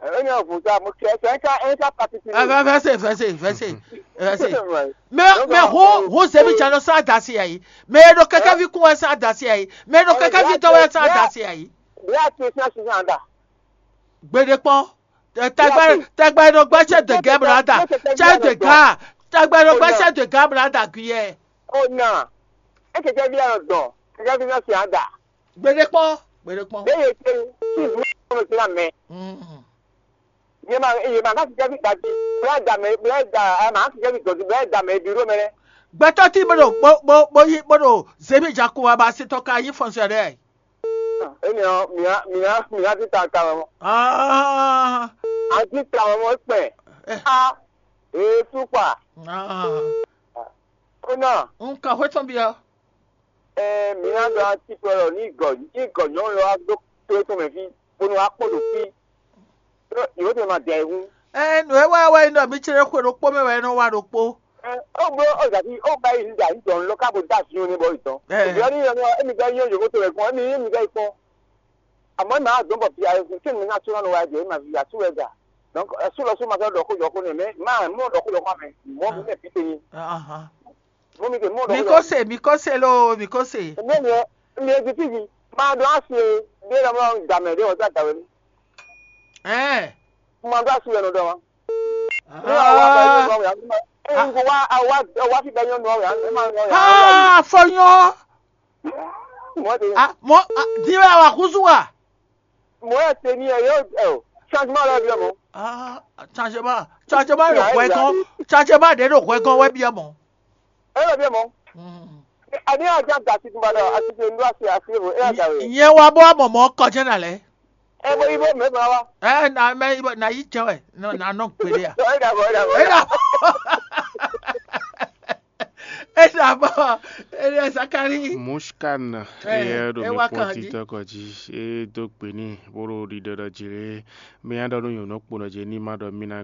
Ɛ ní ɔ̀fun sa mo kí ẹ sɛ ká ẹ ká pati ti. Ɛ fɛ fɛ se fɛ se fɛ se fɛ se. Mɛ mɛ hu hu zemi jalo sá dasi ayi. Mɛ e ɖo kɛkɛvi kún wɛ sá dasi ayi. Mɛ e ɖo kɛkɛvi tɔ wɛ sá dasi ayi. Bí a ti sá sísan da. Gbeɖe kpɔn. Tagba tagba ɖo gbɛ cɛ de gɛ brada. Cɛ de ga. Tagba ɖo gbɛ cɛ de ga brada guyɛ. O na. E kɛkɛvi a nɔ dɔn. Kɛkɛvi na si a da. Gbeɖe kpɔn. Gbeɖe kpɔn. Bẹ́ẹ̀ yẹ kí kí ìlú ọ̀rọ̀ sí àmẹ́. Yẹ máa yẹ máa ká kẹkẹvi dàbí bẹ́ẹ̀ dà mẹ́ bẹ́ẹ̀ dà ẹ máa kẹkẹvi dọ̀tí bẹ́ẹ̀ dà mẹ́ ibi ró mẹ́rẹ́. Gbɛtɔ ti bó ɖo bó bó bó yi bó ɖo zemi jako wa ba se tɔ ka yi fɔnsɛ ɖe. Eni ɔ mìíràn mìíràn mìíràn ti ta ta wọn. Ah, A ti ta wọn mọ pẹ. A èé súpà. ah. Ó náà Nka hwetɔn bia. Ɛ mìíràn dɔ a ti pẹ lọ ní ìgọ̀ ní ìgọ̀ nyɔ̌nu lɔ wá dó tó tó mɛ fí bónú wá kpó ɖo fí. Yóò tẹ ma dẹ ihun. Ɛ nu e wá wá yi nɔ mi tsere xwe ɖokpó mɛ wɛ nɔ wá ɖokpó. Ó gbó ó zàbí ó bá yìí nígbà níjọ ńlọ káàbò dá sí ní bọ́ ìtàn. Ẹ. Ìbí ọ́ ní ìyẹn ní ọ́ émi gbẹ́ yín òyìnbó tó rẹ̀ gan émi émi gbẹ́ ìfọ́n. Àmọ́ ìmọ̀ àdó bọ̀ fi àyẹ̀kú tí mi náà tún lọ́nà wáyé dé ìmọ̀ fi àtúwẹ̀ gà. Donc ẹ̀sùn lọ sún ma fẹ́ dọ̀kú yọkú ni mẹ́ máa mú dọ̀kú yọkú àmì mọ́ mi lẹ̀ fi tẹ̀yìn. Ahan. Mú mi tẹ̀ mú dọ̀kú Mi yọkú. ko se mi ko se lo mi ko se. Èmi ni ẹ mi ẹ ti fíjì máa dọ́ àṣì dé lọ́mọ dàmẹ̀ dé wọ́n sá dàwé mi. Ẹ. Mo máa dọ́ àṣì ẹnu dọ́ wọn. Ní àwọn àgbà yóò Ah. lọ rẹ̀ àwọn ẹ̀ ń gbọ́ wá àwa àwa fi bẹ́ẹ̀ yóò nù ọ̀rẹ́ àwọn ẹ̀ máa ń rọ̀ rẹ̀. Ah, fọyán. Wọ́n ti Ah, mọ ah, di wẹ awa kuzu wa. Mò ń ṣe ní ẹ̀yọ́ ẹ̀ o changement rẹ̀ bí ọmọ. Ah, changement changement ɖo hwɛ gɔn changement ɖe ɖo hwɛ gɔn wɛ biɛ mɔ. Ẹ lọ bí ọmọ. Àní àjà gà sí tìǹbà náà àti ṣe ń dúrà sí àti ìbò ẹ̀ àjà rẹ̀. Ìyẹn wa bọ́ àmọ̀ mọ́ kọjá nà lẹ́. Ẹ bọ ibo mẹ́fà wa. Ẹ na mẹ ibọ na yi jẹ wẹ na na nọ gbede ya. Ẹ dàbọ̀ ẹ dàbọ̀. Ẹ dà ẹ dà bọ ẹ dà Zakari. Mushkan Eh, eye ɖo eh, mi wa kpɔn kan dzi. titɔ kɔ dzi e do gbe n'i bó ɖo ɖiɖɔ ɖɔ dzi lé mi nya ɖɔ nú nyɔ̌nu kponɔ dzi ní ma ɖɔ mí ná